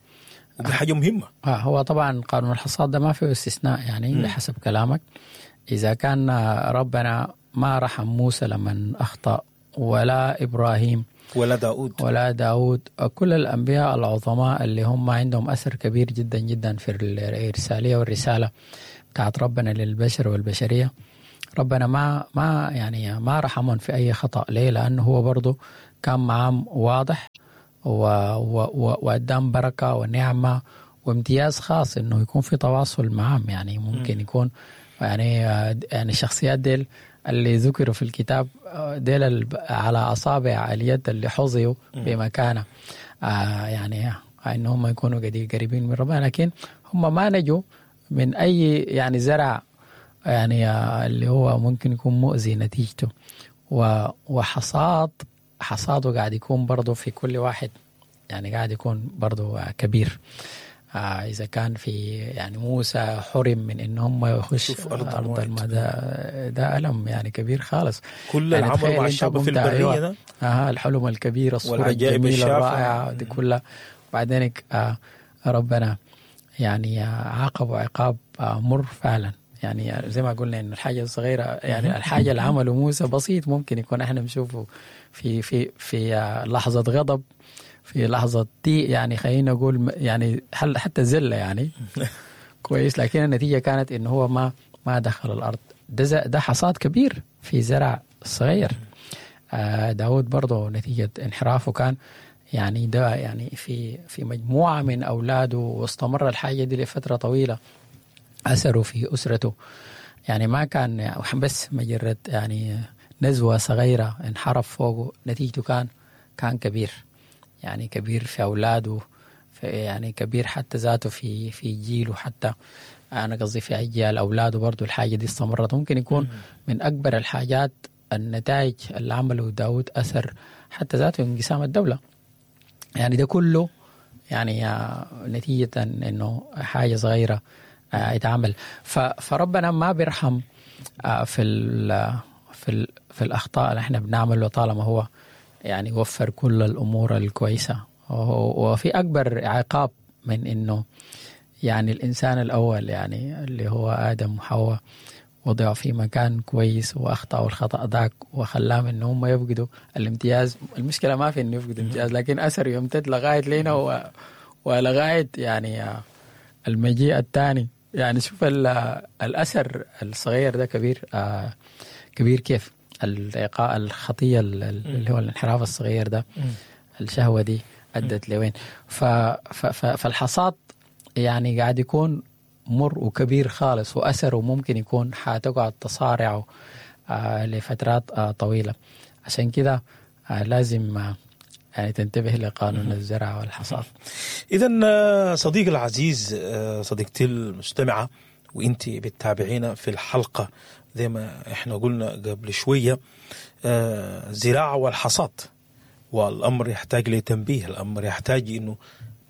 ودي حاجة مهمة. هو طبعا قانون الحصاد ده ما فيه استثناء، يعني بحسب كلامك إذا كان ربنا ما رحم موسى لمن أخطأ، ولا إبراهيم ولا داود، ولا داود، كل الأنبياء العظماء اللي هم عندهم أثر كبير جدا جدا في الإرسالية والرسالة بتاعت ربنا للبشر والبشرية. ربنا ما يعني ما رحمهم في أي خطأ. ليه؟ لأنه هو برضو كان معهم واضح وأدام بركة ونعمة وامتياز خاص إنه يكون في تواصل معهم. يعني ممكن يكون يعني الشخصيات ديل اللي ذكروا في الكتاب ديل على أصابع اليد اللي حظيوا بمكانة، يعني إن هم يكونوا قريبين من ربنا، لكن هم ما نجوا من أي يعني زرع يعني اللي هو ممكن يكون مؤذي نتيجته، وحصاد حصاده قاعد يكون برضه في كل واحد، يعني قاعد يكون برضه كبير. إذا كان في يعني موسى حرم من إن هم يخش أرض المدى، ده ألم يعني كبير خالص. كل يعني العمر مع الشعب في البرية ده، الحلم الكبير، الصورة الجميلة الرائعة دي كلها، وبعدين ربنا يعني عاقب عقاب مر فعلا. يعني زي ما قلنا إن الحاجة الصغيرة، يعني الحاجة اللي عمله موسى بسيط، ممكن يكون إحنا بنشوفه في في في لحظة غضب، في لحظة دي يعني خلينا نقول يعني حتى زلة يعني كويس، لكن النتيجة كانت إنه هو ما دخل الأرض. ده حصاد كبير في زرع صغير. داود برضه نتيجة انحرافه كان يعني ده يعني في مجموعة من أولاده، واستمر الحاجة دي لفترة طويلة، أثره في أسرته. يعني ما كان بس مجرد يعني نزوة صغيرة انحرف فوقه، نتيجته كان كبير، يعني كبير في أولاده، في يعني كبير حتى ذاته في جيله، حتى أنا قصدي في أجيال أولاده برضو الحاجة دي استمرت. ممكن يكون من أكبر الحاجات النتائج اللي عمله داود أثر حتى ذاته انقسام الدولة. يعني ده كله يعني نتيجة إنه حاجة صغيرة اتعمل. فربنا ما بيرحم في ال في ال في الأخطاء اللي احنا بنعمله، طالما هو يعني وفر كل الأمور الكويسة. وفي أكبر عقاب من إنه يعني الإنسان الأول يعني اللي هو آدم وحواء وضعوا في مكان كويس وأخطأوا الخطأ ذاك وخلاهم إن هم يفقدوا الامتياز. المشكلة ما في إنه يفقدوا الامتياز، لكن أثر يمتد لغاية لينا ولغاية يعني المجيء الثاني. يعني شوف الأثر الصغير ده كبير، كبير كيف الإيقاع الخطية اللي هو الانحراف الصغير ده، الشهوة دي أدت لوين. فالحصاد يعني قاعد يكون مر وكبير خالص، وأثره ممكن يكون حتقعد تصارعه لفترات طويلة. عشان كده لازم يعني تنتبه لقانون الزرع والحصاد. إذن صديقي العزيز، صديقتي المستمعة، وإنت بتتابعينا في الحلقة زي ما إحنا قلنا قبل شوية، زراعة والحصاد، والأمر يحتاج لتنبيه، الأمر يحتاج إنه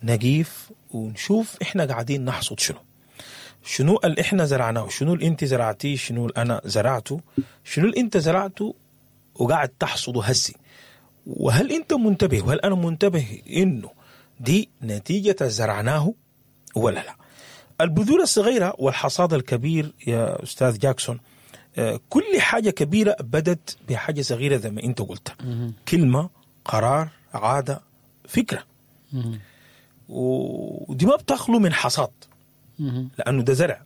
نقيف ونشوف إحنا قاعدين نحصد شنو، شنو اللي إحنا زرعناه، شنو اللي أنت زرعتيه، شنو اللي أنا زرعته، شنو اللي أنت زرعته وقاعد تحصده هسي، وهل أنت منتبه وهل أنا منتبه إنه دي نتيجة زرعناه ولا لا. البذور الصغيرة والحصاد الكبير يا أستاذ جاكسون، كل حاجة كبيرة بدت بحاجة صغيرة زي ما أنت قلت، كلمة، قرار، عادة، فكرة، ودي ما بتخلو من حصاد، لأنه ده زرع،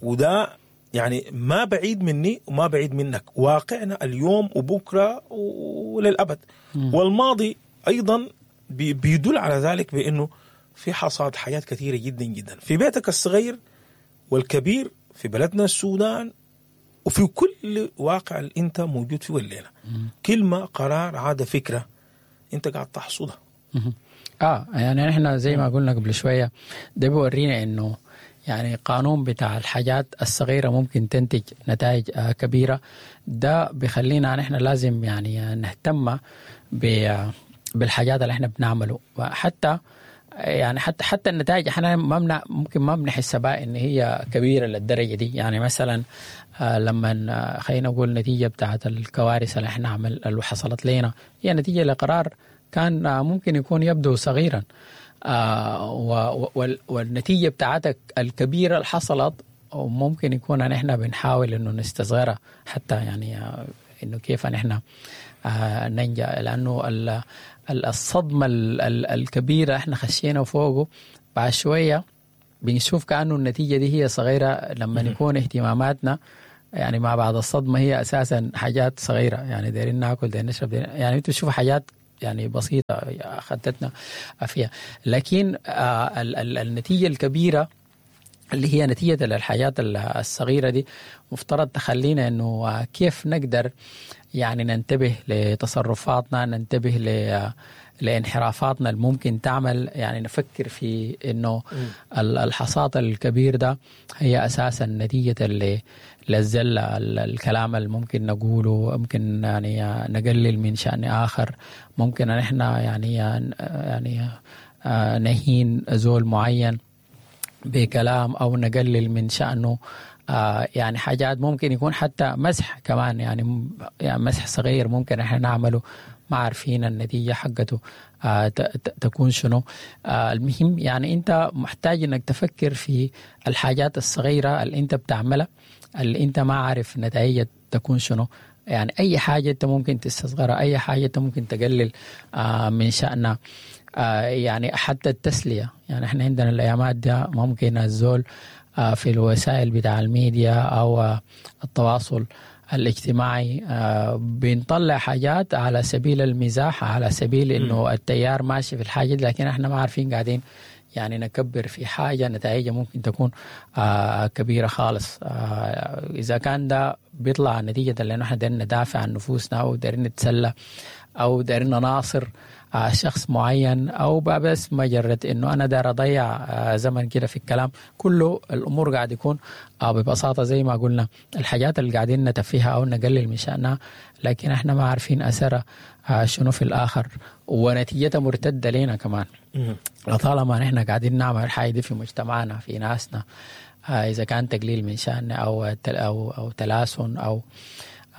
وده يعني ما بعيد مني وما بعيد منك، واقعنا اليوم وبكرة وللأبد. والماضي أيضا بيدل على ذلك بأنه في حصاد حاجات كثيرة جدا جدا في بيتك الصغير والكبير، في بلدنا السودان، وفي كل واقع اللي انت موجود فيه الليلة. كلمة، قرار، عادة، فكرة، انت قاعد تحصدها. يعني احنا زي ما قلنا قبل شوية، ده بيورينا انه يعني قانون بتاع الحاجات الصغيرة ممكن تنتج نتائج كبيرة. ده بيخلينا نحن لازم يعني نهتم بالحاجات اللي احنا بنعمله، حتى يعني حتى النتائج احنا ما ممكن ما بنحس بها ان هي كبيرة للدرجة دي. يعني مثلا لما خلينا نقول نتيجة بتاعت الكوارث اللي احنا اللي حصلت لنا، هي نتيجة لقرار كان ممكن يكون يبدو صغيرا، والنتيجة بتاعتك الكبيرة اللي حصلت ممكن يكون ان احنا بنحاول انه نستصغرها حتى انه كيف نحن ننجا، لانه الصدمة الكبيرة احنا خشينا فوقه بعد شوية بنشوف كانه النتيجة دي هي صغيرة لما يكون اهتماماتنا يعني مع بعض الصدمة هي اساسا حاجات صغيرة، يعني دايرين ناكل، دايرين نشرب، يعني انتوا تشوفوا حاجات يعني بسيطة خدتنا فيها، لكن النتيجة الكبيرة اللي هي نتيجة للحاجات الصغيرة دي مفترض تخلينا انه كيف نقدر يعني ننتبه لتصرفاتنا، ننتبه لانحرافاتنا اللي ممكن تعمل، يعني نفكر في انه الحصاد الكبير ده هي اساسا نتيجة للزلة، الكلام اللي ممكن نقوله، ممكن يعني نقلل من شأن آخر، ممكن نحن يعني نهين زول معين بكلام أو نقلل من شأنه، يعني حاجات ممكن يكون حتى مسح كمان، يعني مسح صغير ممكن احنا نعمله ما عارفين النتيجة حقته تكون شنو. المهم يعني انت محتاج انك تفكر في الحاجات الصغيرة اللي انت بتعملها اللي انت ما عارف نتائجها تكون شنو، يعني اي حاجة انت ممكن تستصغرها، اي حاجة انت ممكن تقلل من شأنها، يعني حتى التسلية. يعني احنا عندنا الايامات دي ممكن الزول في الوسائل بتاع الميديا او التواصل الاجتماعي بنطلع حاجات على سبيل المزاح، على سبيل انه التيار ماشي في الحاجة، لكن احنا ما عارفين قاعدين يعني نكبر في حاجة نتائجها ممكن تكون كبيرة خالص. إذا كان ده بيطلع نتيجة لأنه احنا دايرين ندافع عن نفوسنا أو دايرين نتسلى أو دايرين نناصر شخص معين، أو بس مجرد إنه أنا داير أضيع زمن كده في الكلام، كله الأمور قاعد يكون ببساطة زي ما قلنا الحاجات اللي قاعدين نتفيها أو نقلل من شأنها، لكن احنا ما عارفين أثرها شنو في الآخر، ونتيجتها مرتدة لنا كمان. لطالما نحن قاعدين نعمل الحاجة دي في مجتمعنا في ناسنا، إذا كان تقليل من شأننا أو أو تلاسن أو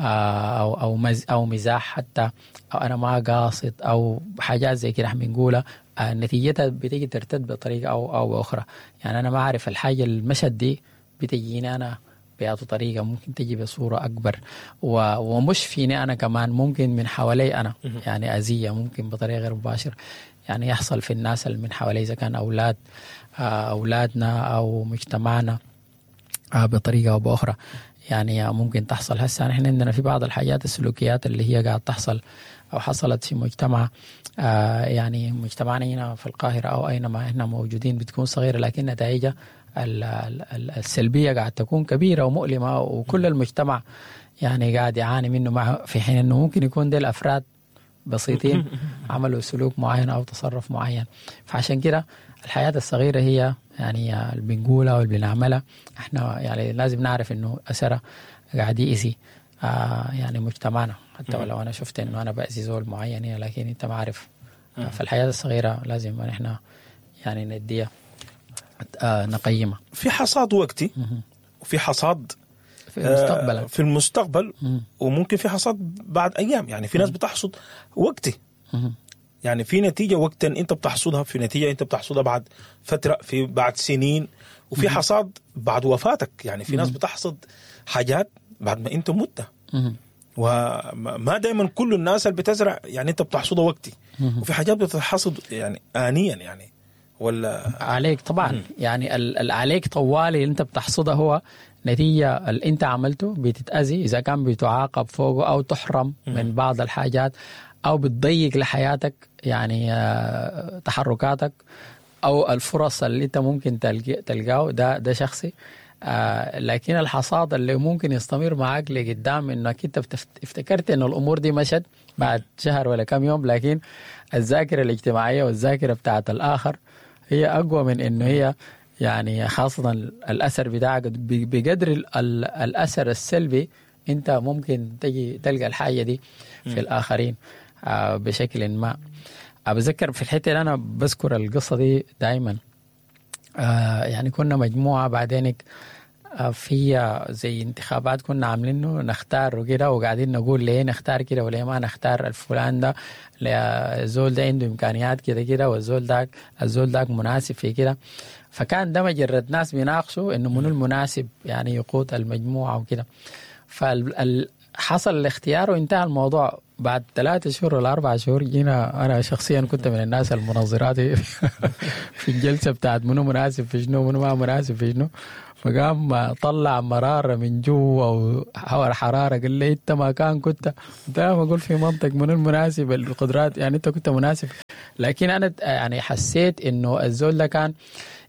أو أو أو مزاح حتى، أو أنا ما قاصد أو حاجات زي كده احنا بنقولها، نتيجتها بتيجي ترتد بطريقة أو بأخرى. يعني أنا ما أعرف الحاجة المشهد دي بتجيني أنا بأي طريقة، ممكن تجي بصورة أكبر ومش فيني أنا كمان، ممكن من حوالي أنا يعني أذية، ممكن بطريقة غير مباشرة يعني يحصل في الناس اللي من حوالي، إذا كان أولادنا أو مجتمعنا بطريقة أو بأخرى يعني ممكن تحصل. هسه نحن عندنا في بعض الحاجات السلوكيات اللي هي قاعد تحصل أو حصلت في مجتمع يعني مجتمعنا هنا في القاهرة أو أينما إحنا موجودين، بتكون صغيرة لكن نتائجها السلبية قاعد تكون كبيرة ومؤلمة، وكل المجتمع يعني قاعد يعاني منه، مع في حين أنه ممكن يكون دي الأفراد بسيطين عملوا سلوك معين أو تصرف معين. فعشان كده الحياة الصغيرة هي يعني اللي بنقولها واللي بنعملها احنا، يعني لازم نعرف انه اثرها قاعد يأذي يعني مجتمعنا، حتى ولو انا شفت انه انا بأذي زول معين، لكن انت ما عارف. فالحياة الصغيرة لازم احنا يعني نديها نقيمها. في حصاد وقتي وفي حصاد في المستقبل، في المستقبل، وممكن في حصاد بعد ايام. يعني في ناس بتحصد وقتي، يعني في نتيجة وقتا أنت بتحصدها، في نتيجة أنت بتحصدها بعد فترة، في بعد سنين، وفي حصاد بعد وفاتك. يعني في ناس بتحصد حاجات بعد ما أنت مت، وما دايما كل الناس اللي بتزرع يعني أنت بتحصدها وقتي، وفي حاجات بتحصد يعني آنيا يعني ولا عليك طبعا. يعني عليك طوالي اللي أنت بتحصدها هو نتيجة اللي أنت عملته، بتتأذي إذا كان بتعاقب فوقه أو تحرم من بعض الحاجات أو بتضيق لحياتك يعني تحركاتك أو الفرص اللي أنت ممكن تلقاه، ده شخصي. لكن الحصاد اللي ممكن يستمر معاك لقدام، إنك أنت افتكرت إنه الأمور دي مشت بعد شهر ولا كم يوم، لكن الذاكرة الاجتماعية والذاكرة بتاعت الآخر هي أقوى من إنه هي يعني خاصة الأثر بتاعك بقدر الأثر السلبي أنت ممكن تجي تلقى الحاجة دي في الآخرين بشكل ما. بذكر في الحتة اللي أنا بذكر القصة دي دائما، يعني كنا مجموعة بعدين في زي انتخابات كنا عاملينه نختار وكده، وقاعدين نقول ليه نختار كده وليه ما نختار الفلان ده، الزول ده عنده إمكانيات كده كده، والزول داك الزول داك مناسب في كده. فكان ده مجرد ناس بيناقشوا إنه منو المناسب يعني يقود المجموعة وكده. حصل الاختيار وانتهى الموضوع. بعد 3 شهور ولا 4 شهور جينا، انا شخصيا كنت من الناس المنظرات في الجلسة بتاعت منو مناسب في شنو منو ما مناسب في شنو. فقام طلع مرارة من جوا وحرارة، قال لي انت ما كان كنت ما اقول في منطق منو المناسب القدرات، يعني انت كنت مناسب. لكن انا يعني حسيت انه الزول ده كان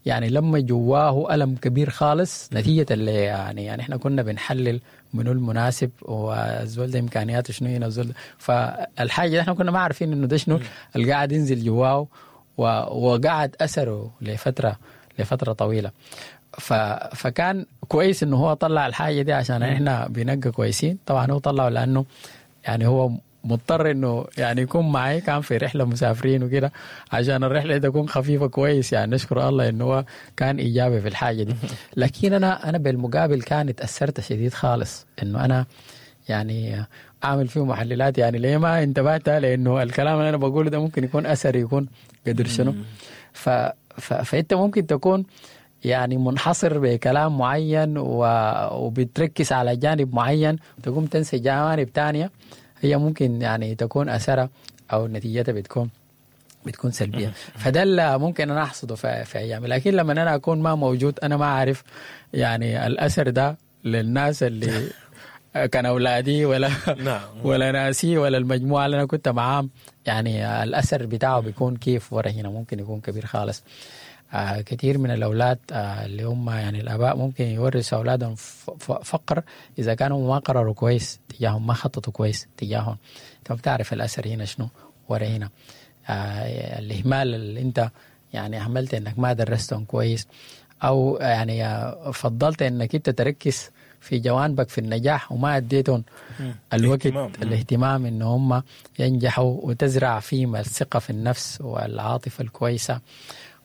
يعني لما جواه ألم كبير خالص نتيجة اللي يعني احنا كنا بنحلل منو المناسب والزول ده امكانياته شنو هنا الزول ده. فالحاجة دي احنا كنا ما عارفين انه ده شنو اللي قاعد ينزل جواه وقعد اثره لفترة طويلة. فكان كويس انه هو طلع الحاجة دي عشان احنا بنبقى كويسين. طبعا هو طلعه لانه يعني هو مضطر انه يعني يكون معي، كان في رحله مسافرين وكده عشان الرحلة تكون خفيفة كويس. يعني نشكر الله انه هو كان ايجابي في الحاجة دي. لكن انا بالمقابل كان اتاثرت شديد خالص انه انا يعني اعمل فيه محللات، يعني ليه ما انتبهت لانه الكلام اللي انا بقوله ده ممكن يكون اثر يكون قدر شنو. فانت ممكن تكون يعني منحصر بكلام معين وبتركز على جانب معين، تقوم تنسى جوانب تانية هي ممكن يعني تكون أثرها أو نتيجتها بتكون سلبية. فده اللي ممكن أنا أحصده في أيامي. لكن لما أنا أكون ما موجود أنا ما أعرف يعني الأثر ده للناس اللي كان أولادي ولا ولا ناسي ولا المجموعة اللي أنا كنت معاهم، يعني الأثر بتاعه بيكون كيف ورا هنا ممكن يكون كبير خالص. كثير من الأولاد اللي هم يعني الآباء ممكن يورثوا أولادهم فقر إذا كانوا ما قرروا كويس تجاههم، ما خططوا كويس تجاههم. أنت ما بتعرف الأثر هنا شنو ورا هنا. الإهمال اللي أنت يعني أهملت إنك ما درستهم كويس، أو يعني فضلت إنك أنت تركز في جوانبك في النجاح وما أديتهم الوقت الاهتمام إن هم ينجحوا، وتزرع فيهم الثقة في النفس والعاطفة الكويسة،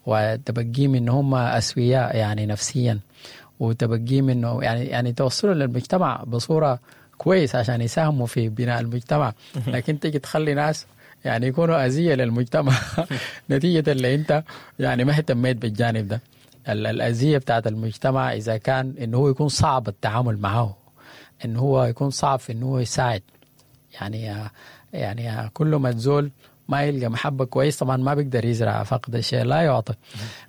وتبقيهم إن هم أسوياء يعني نفسيا، وتبقيهم إنه يعني توصلوا للمجتمع بصورة كويس عشان يساهموا في بناء المجتمع. لكن تيجي تخلي ناس يعني يكونوا أذية للمجتمع نتيجة اللي أنت يعني ما اهتميت بالجانب ده. الأذية بتاعت المجتمع إذا كان إنه هو يكون صعب التعامل معه، إنه هو يكون صعب في إنه هو يساعد. يعني كل ما تزول ما يلقى محبة كويس طبعا ما بيقدر يزرع، فقد الشيء لا يعطي.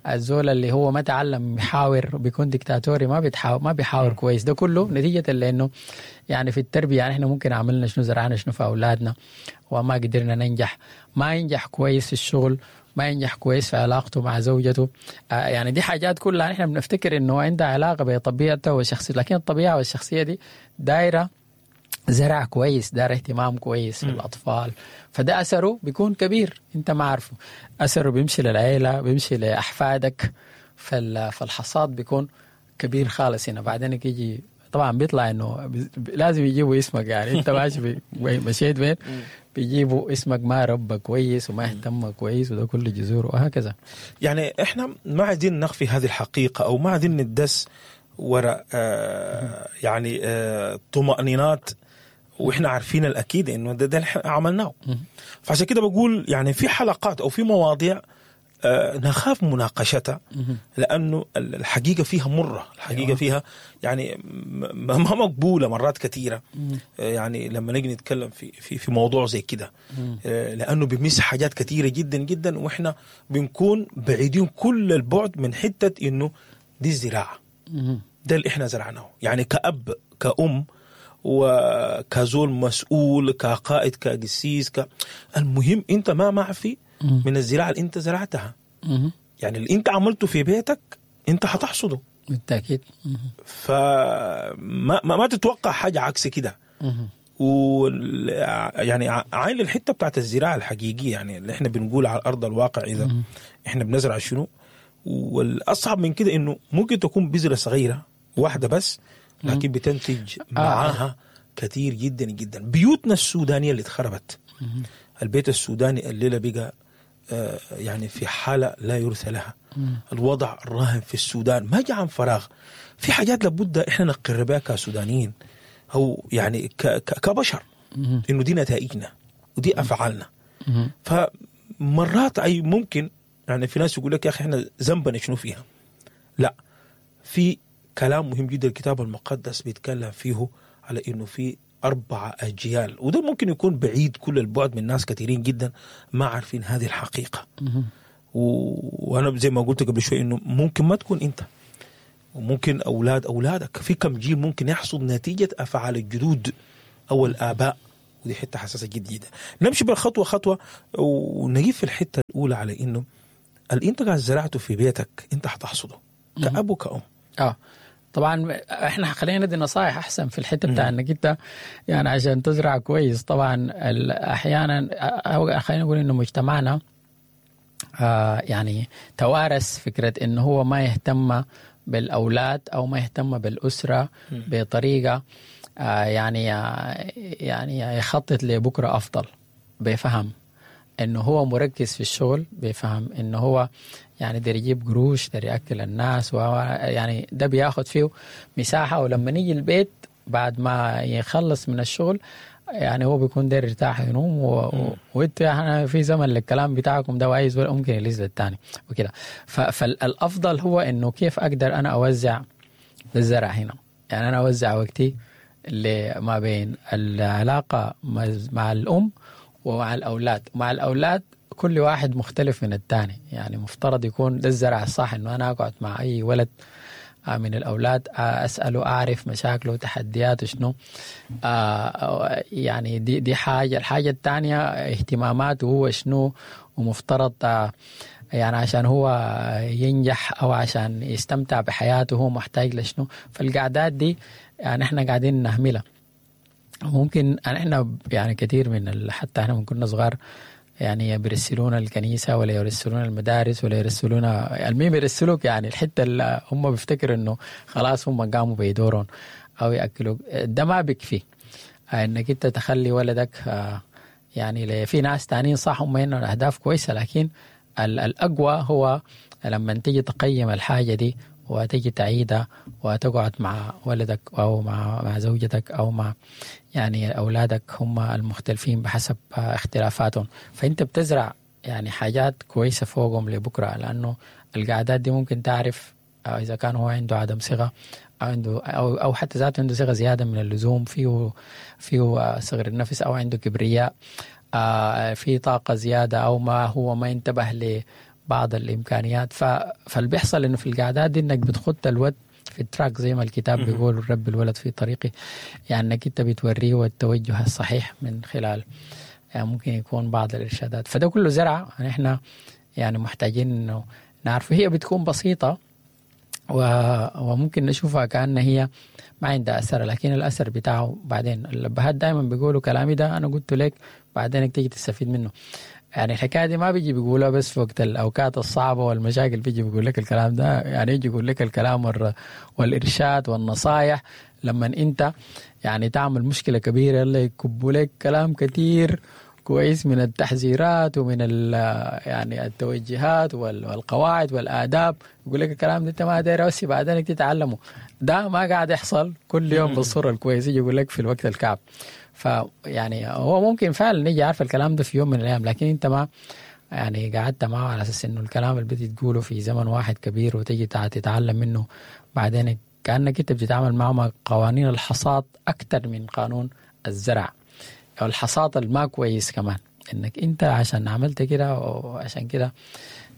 الزول اللي هو ما تعلم يحاور بيكون ديكتاتوري، ما بيحاور كويس. ده كله نتيجة لأنه يعني في التربية يعني احنا ممكن عملنا شنو، زرعنا شنو في أولادنا وما قدرنا ننجح. ما ينجح كويس في الشغل، ما ينجح كويس في علاقته مع زوجته. يعني دي حاجات كلها احنا بنفتكر انه عندها علاقة بطبيعته وشخصيته، لكن الطبيعة والشخصية دي دايرة زرع كويس، دار اهتمام كويس في الأطفال. فده أثره بيكون كبير، أنت ما عارفه. أثره بيمشي للعيلة، بيمشي لأحفادك، فالحصاد بيكون كبير خالص هنا. بعدين يجي طبعا بيطلع إنه لازم يجيبوا اسمك، يعني أنت ماشي مشيت وين بيجيبوا اسمك، ما ربى كويس وما اهتم كويس، وده كله جذور وهكذا. يعني إحنا ما عايزين نخفي هذه الحقيقة أو ما عايزين ندس وراء يعني طمأنينات، واحنا عارفين الاكيد انه ده اللي عملناه. فعشان كده بقول يعني في حلقات او في مواضيع نخاف مناقشتها لانه الحقيقة فيها مرة، الحقيقة فيها يعني ما مقبولة مرات كثيرة. يعني لما نيجي نتكلم في في في موضوع زي كده لانه بيمس حاجات كثيرة جدا جدا، واحنا بنكون بعيدين كل البعد من حتة انه دي الزراعة، ده اللي احنا زرعناه. يعني كأب كأم وكزول مسؤول كقائد كقسيس المهم انت ما معفي من الزراعة اللي انت زرعتها. يعني اللي انت عملته في بيتك انت هتحصده بالتأكيد. فما ما تتوقع حاجة عكس كده. يعني عين الحتة بتاعت الزراعة الحقيقية، يعني اللي احنا بنقول على أرض الواقع إذا احنا بنزرع شنو. والأصعب من كده انه ممكن تكون بذرة صغيرة واحدة بس، لكن بتنتج معاها كثير جدا جدا. بيوتنا السودانية اللي اتخربت، البيت السوداني الليلة بقى يعني في حالة لا يرثى لها. الوضع الراهن في السودان ما جاء عن فراغ، في حاجات لابد احنا نقر بها كسودانيين أو يعني كبشر، إنه دي نتائجنا ودي أفعالنا. فمرات أي ممكن يعني في ناس يقول لك يا أخي احنا ذنبنا شنو فيها. لا، في كلام مهم جدا الكتاب المقدس بيتكلم فيه على انه في 4 أجيال، وده ممكن يكون بعيد كل البعد من ناس كثيرين جدا ما عارفين هذه الحقيقة. وأنا زي ما قلت قبل شوي إنه ممكن ما تكون أنت، وممكن أولاد أولادك في كم جيل ممكن يحصد نتيجة أفعال الجدود أو الآباء، ودي حتة حساسة جدا جدا. نمشي بالخطوة خطوة ونجيب في الحتة الأولى على إنه اللي أنت قاعد زرعته في بيتك أنت حتحصده كأب وكأم. طبعا احنا خلينا ندي نصائح احسن في الحتة بتاع انك انت يعني عشان تزرع كويس. طبعا احيانا خلينا نقول انه مجتمعنا يعني توارث فكرة انه هو ما يهتم بالاولاد او ما يهتم بالاسرة بطريقة يعني يخطط لبكرة افضل، بفهم انه هو مركز في الشغل، بيفهم انه هو يعني داير يجيب قروش، داير ياكل الناس، يعني ده بياخد فيه مساحة. ولما نيجي البيت بعد ما يخلص من الشغل يعني هو بيكون داير يرتاح ينوم، وانت يعني في زمن للكلام بتاعكم ده وعايز ولا ممكن يلز للتاني وكده. فالافضل هو انه كيف اقدر انا اوزع الزرع هنا، يعني انا اوزع وقتي ما بين العلاقة مع الام ومع الأولاد. مع الأولاد كل واحد مختلف من الثاني، يعني مفترض يكون ده الزرع الصح، إنه أنا أقعد مع أي ولد من الأولاد أسأله، أعرف مشاكله وتحدياته شنو، يعني دي حاجة. الحاجة الثانية اهتماماته هو شنو، ومفترض يعني عشان هو ينجح أو عشان يستمتع بحياته هو محتاج لشنو. فالقعدات دي يعني إحنا قاعدين نهملها. ممكن احنا يعني كثير من حتى احنا من كنا صغار يعني بيرسلونا الكنيسة ولا يرسلونا المدارس ولا يرسلونا، المهم يرسلوك يعني الحتة اللي هم بيفتكروا انه خلاص هم قاموا بيدورون او ياكلوك. ده ما بيكفي انك انت تخلي ولدك يعني في ناس تانيين صح هم هنا الاهداف كويسة، لكن الاقوى هو لما تيجي تقيم الحاجة دي وتيجي تعيدها وتقعد مع ولدك أو مع زوجتك أو مع يعني أولادك، هم المختلفين بحسب اختلافاتهم. فأنت بتزرع يعني حاجات كويسة فوقهم لبكرة، لأنه القعدات دي ممكن تعرف إذا كان هو عنده عدم ثقة أو عنده أو حتى ذاته عنده ثقة زيادة من اللزوم، فيه صغر النفس، أو عنده كبرياء، في طاقة زيادة، أو ما هو ما انتبه ل بعض الإمكانيات. فاللي بيحصل إنه في القعدات دي إنك بتخط الود في التراك زي ما الكتاب بيقول، رب الولد في طريقي، يعني إنك أنت بتوريه التوجه الصحيح من خلال يعني ممكن يكون بعض الإرشادات. فده كله زرع يعني إحنا يعني محتاجين إنه نعرفه. هي بتكون بسيطة وممكن نشوفها كأن هي ما عندها أثر، لكن الأثر بتاعه بعدين. الأبهات دائما بيقولوا كلامي ده أنا قلت لك بعدين تيجي تستفيد منه. يعني الحكاية دي ما بيجي بيقولها بس في وقت الأوقات الصعبة والمشاكل، بيجي بيقول لك الكلام ده، يعني يجي يقول لك الكلام والإرشاد والنصايح لما أنت يعني تعمل مشكلة كبيرة، يلا يكبوا لك كلام كتير كويس من التحذيرات ومن يعني التوجيهات والقواعد والآداب، يقول لك الكلام ده أنت ما داير بس بعدين تتعلمه. ده ما قاعد يحصل كل يوم بالصورة الكويسة، يجي يقول لك في الوقت الكعب. فيعني هو ممكن فعلا يجي عارف الكلام ده في يوم من الأيام، لكن أنت ما يعني قعدت معه على أساس إنه الكلام اللي بدي تقوله في زمن واحد كبير وتجي تتعلم منه بعدين. كأنك أنت بتتعامل معه مع قوانين الحصاد أكثر من قانون الزرع أو الحصاد الما كويس كمان، إنك أنت عشان عملت كده وعشان كده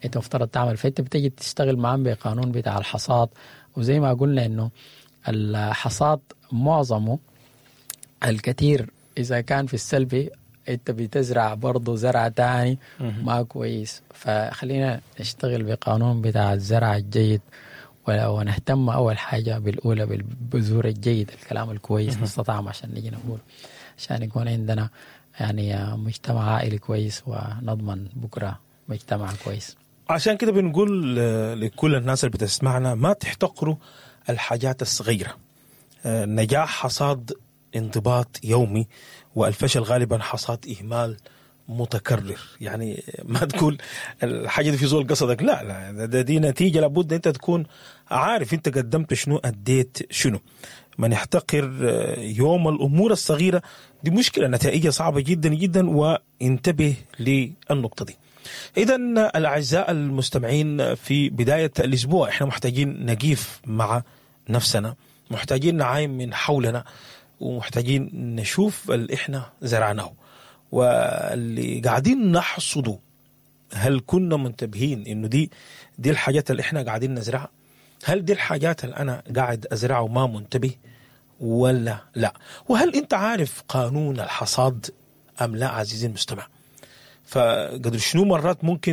أنت مفترض تعمل. فأنت بتجي تشتغل معهم بقانون بتاع الحصاد، وزي ما قلنا إنه الحصاد معظمه الكثير إذا كان في السلبي أنت بتزرع برضه زرع تاني ما كويس. فخلينا نشتغل بقانون بتاع الزرع الجيد، ونهتم أول حاجة بالأولى بالبذور الجيد، الكلام الكويس نستطعم عشان نجي نقول، عشان يكون عندنا يعني مجتمع عائلي كويس ونضمن بكرة مجتمع كويس. عشان كده بنقول لكل الناس اللي بتسمعنا ما تحتقروا الحاجات الصغيرة. نجاح حصاد انضباط يومي، والفشل غالبا حصاد إهمال متكرر. يعني ما تقول الحاجة دي في زول قصدك، لا لا، ده دي نتيجة لابد أنت تكون عارف أنت قدمت شنو، أديت شنو. من يحتقر يوم الأمور الصغيرة دي مشكلة، نتائجها صعبة جدا جدا، وانتبه للنقطة دي. إذن الأعزاء المستمعين، في بداية الأسبوع إحنا محتاجين نقيف مع نفسنا، محتاجين نعاين من حولنا. ومحتاجين نشوف اللي احنا زرعناه واللي قاعدين نحصده. هل كنا منتبهين انه دي الحاجات اللي احنا قاعدين نزرعها؟ هل دي الحاجات اللي انا قاعد ازرعها وما منتبه ولا لا؟ وهل انت عارف قانون الحصاد ام لا عزيزي المستمع؟ فقدر شنو مرات ممكن